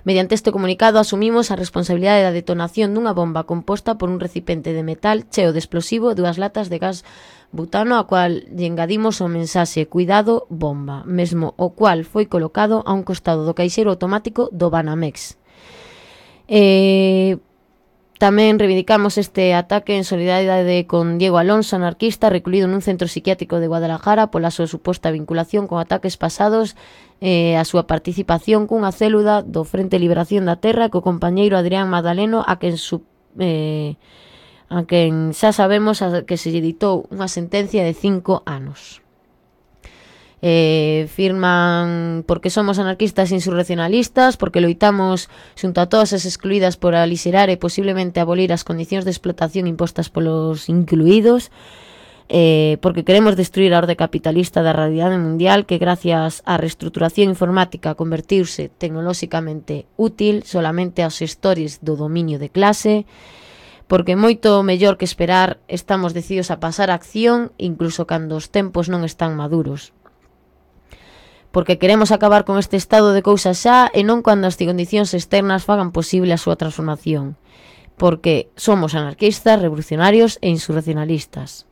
Mediante este comunicado asumimos a responsabilidade da detonación dunha bomba composta por un recipiente de metal cheo de explosivo e 2 latas de gas butano, a cual lle engadimos o mensaxe "Cuidado, bomba", mesmo o cual foi colocado a un costado do caixeiro automático do Banamex. Tamén reivindicamos este ataque en solidaridade con Diego Alonso, anarquista, recluído nun centro psiquiátrico de Guadalajara pola súa suposta vinculación con ataques pasados e a súa participación cunha célula do Frente de Liberación da Terra co compañeiro Adrián Magdaleno, a quen xa sabemos que se lle ditou unha sentencia de 5 anos. Firman porque somos anarquistas insurreccionalistas, porque loitamos xunto a todas as excluídas por alixerar e posiblemente abolir as condicións de explotación impostas polos incluídos, porque queremos destruir a orde capitalista da realidade mundial que gracias á reestruturación informática convertiuse tecnolóxicamente útil solamente aos xestores do dominio de clase, porque moito mellor que esperar estamos decididos a pasar a acción incluso cando os tempos non están maduros. Porque queremos acabar con este estado de cousas xa e non cando as condicións externas fagan posible a súa transformación. Porque somos anarquistas, revolucionarios e insurreccionalistas.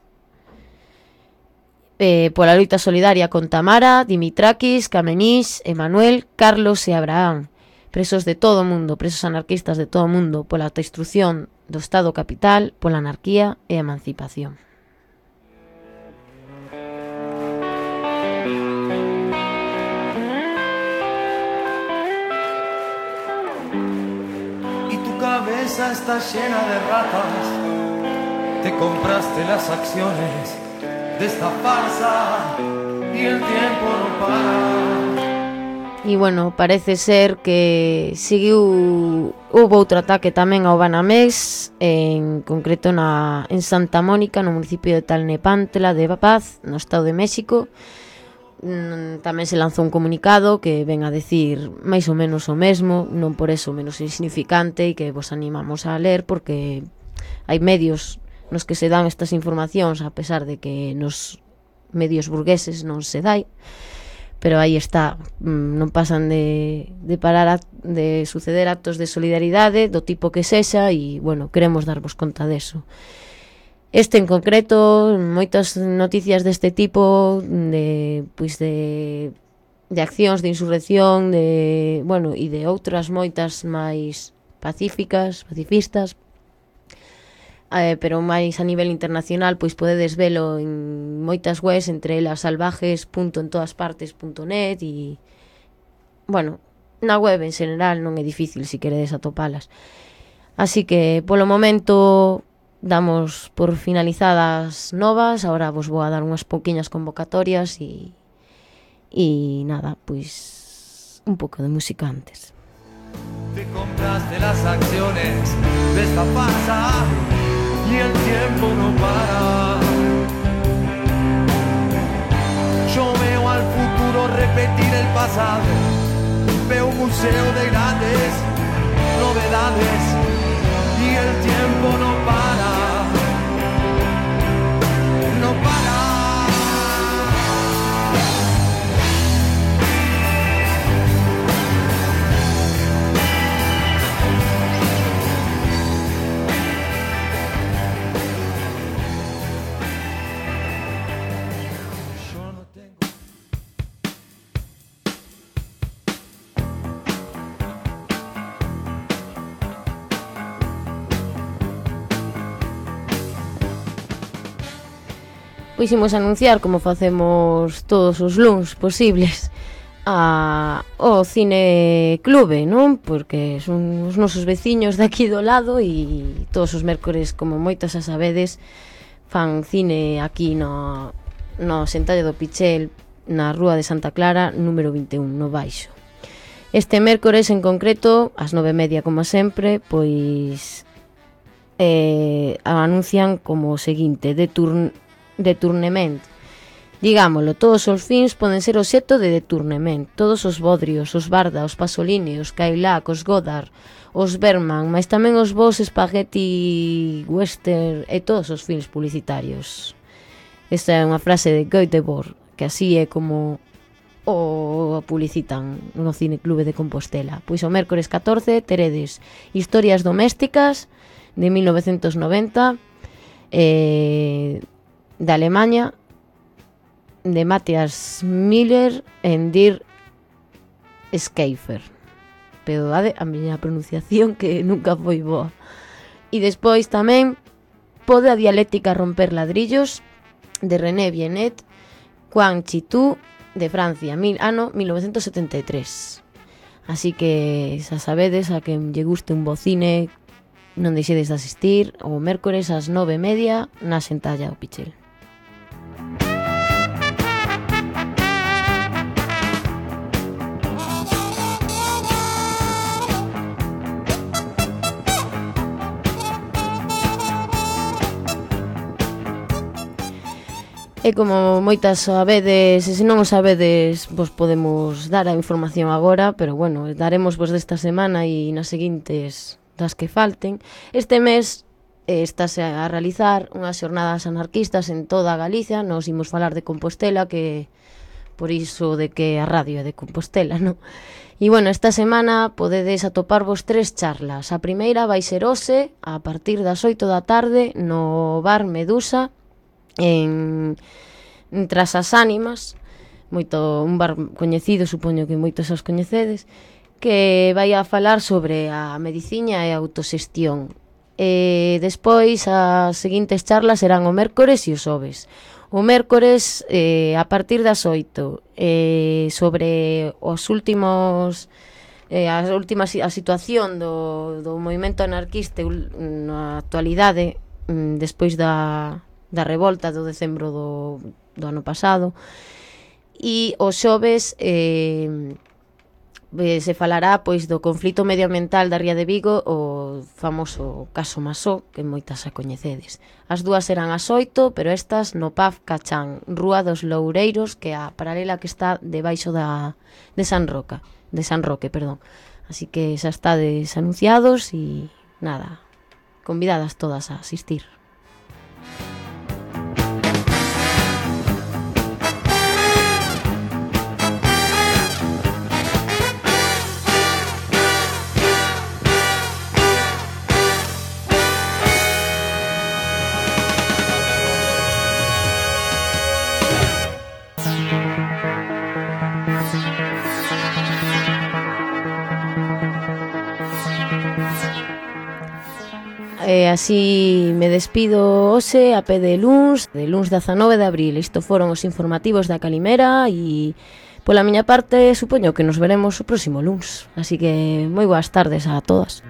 Pola loita solidaria con Tamara, Dimitrakis, Kamenich, Emanuel, Carlos e Abraham. Presos de todo o mundo, presos anarquistas de todo o mundo, pola destrucción do Estado capital, pola anarquía e a emancipación. Cabeza está llena de ratas, te compraste las acciones de esta farsa y el tiempo no para. E bueno, parece ser que houve outro ataque tamén ao Banamex, en concreto en Santa Mónica, no municipio de Tlalnepantla de Paz, no Estado de México. Tamén se lanzou un comunicado que ven a decir máis ou menos o mesmo, non por eso menos insignificante, e que vos animamos a ler porque hai medios nos que se dan estas informacións a pesar de que nos medios burgueses non se dai, pero aí está, non pasan de suceder actos de solidaridade do tipo que sexa, e, bueno, queremos darvos conta deso. Este en concreto, moitas noticias deste tipo de accións de insurrección, e de outras moitas máis pacifistas, pero máis a nivel internacional, pois podedes velo en moitas webs, entre elas salvajes.entoaspartes.net, e, bueno, na web en general non é difícil se queredes atopalas. Así que, polo momento, damos por finalizadas novas. Ahora vos vou a dar unhas pouquiñas convocatorias e nada, pois un pouco de música antes. Te compraste las acciones de esta farsa y el tiempo no para. Yo veo al futuro repetir el pasado, veo un museo de grandes novedades y el tiempo no para, no para. Pois imos anunciar, como facemos todos os luns posibles, o Cine Clube, non? Porque son os nosos veciños daqui do lado e todos os mércores, como moitas a sabedes, fan cine aquí no Sentalle do Pichel, na Rúa de Santa Clara, número 21, no Baixo. Este mércores en concreto, ás 9:30, como sempre, pois anuncian como o seguinte: deturnement. Digámoslo, todos os fins poden ser obxecto de deturnement. Todos os bodrios, os Barda, os Pasolini, os Cadillac, os Godard, os Berman, mas tamén os vos spaghetti western e todos os films publicitarios. Esta é unha frase de Göteborg, que así é como o publicitan no Cine Clube de Compostela. Pois o mércores 14 teredes Historias domésticas de 1990, de Alemanha, de Matthias Miller en Dir Schäfer. Pero a miña pronunciación, que nunca foi boa. E despois tamén Pode a dialéctica romper ladrillos, de René Bienet, Quan Chitu, de Francia, ano 1973. Así que, xa sabedes, a quen lle guste un bo cine, non deixedes de asistir o mércores ás 9:30 na Sentalla do Pichel. E como moitas sabedes, e se non o sabedes, vos podemos dar a información agora, pero bueno, daremos vos desta semana e nas seguintes das que falten. Este mes estáse a realizar unhas xornadas anarquistas en toda Galicia. Nos imos falar de Compostela, que por iso de que a radio é de Compostela, non? E bueno, esta semana podedes atoparvos 3 charlas. A primeira vai ser hoxe, a partir das 8 da tarde, no Bar Medusa, en Tras as Ánimas, un bar coñecido, supoño que moitos os coñecedes, que vai a falar sobre a mediciña e a autoxestión. E despois as seguintes charlas serán o mércores e o xoves. O mércores, a partir das 8, sobre a situación do movimento anarquista na actualidade, despois da revolta do decembro do ano pasado. E os xoves se falará pois do conflito medioambiental da Ría de Vigo, o famoso caso Masó, que moitas a coñecedes. As dúas serán ás 8, pero estas no Pub Cachán, Rúa dos Loureiros, que é a paralela que está debaixo de San Roque. Así que xa estades anunciados e nada, convidadas todas a asistir. Así me despido hoxe a pé de luns 19 de abril. Isto foron os informativos da Calimera e pola miña parte supoño que nos veremos o próximo luns. Así que moi boas tardes a todas.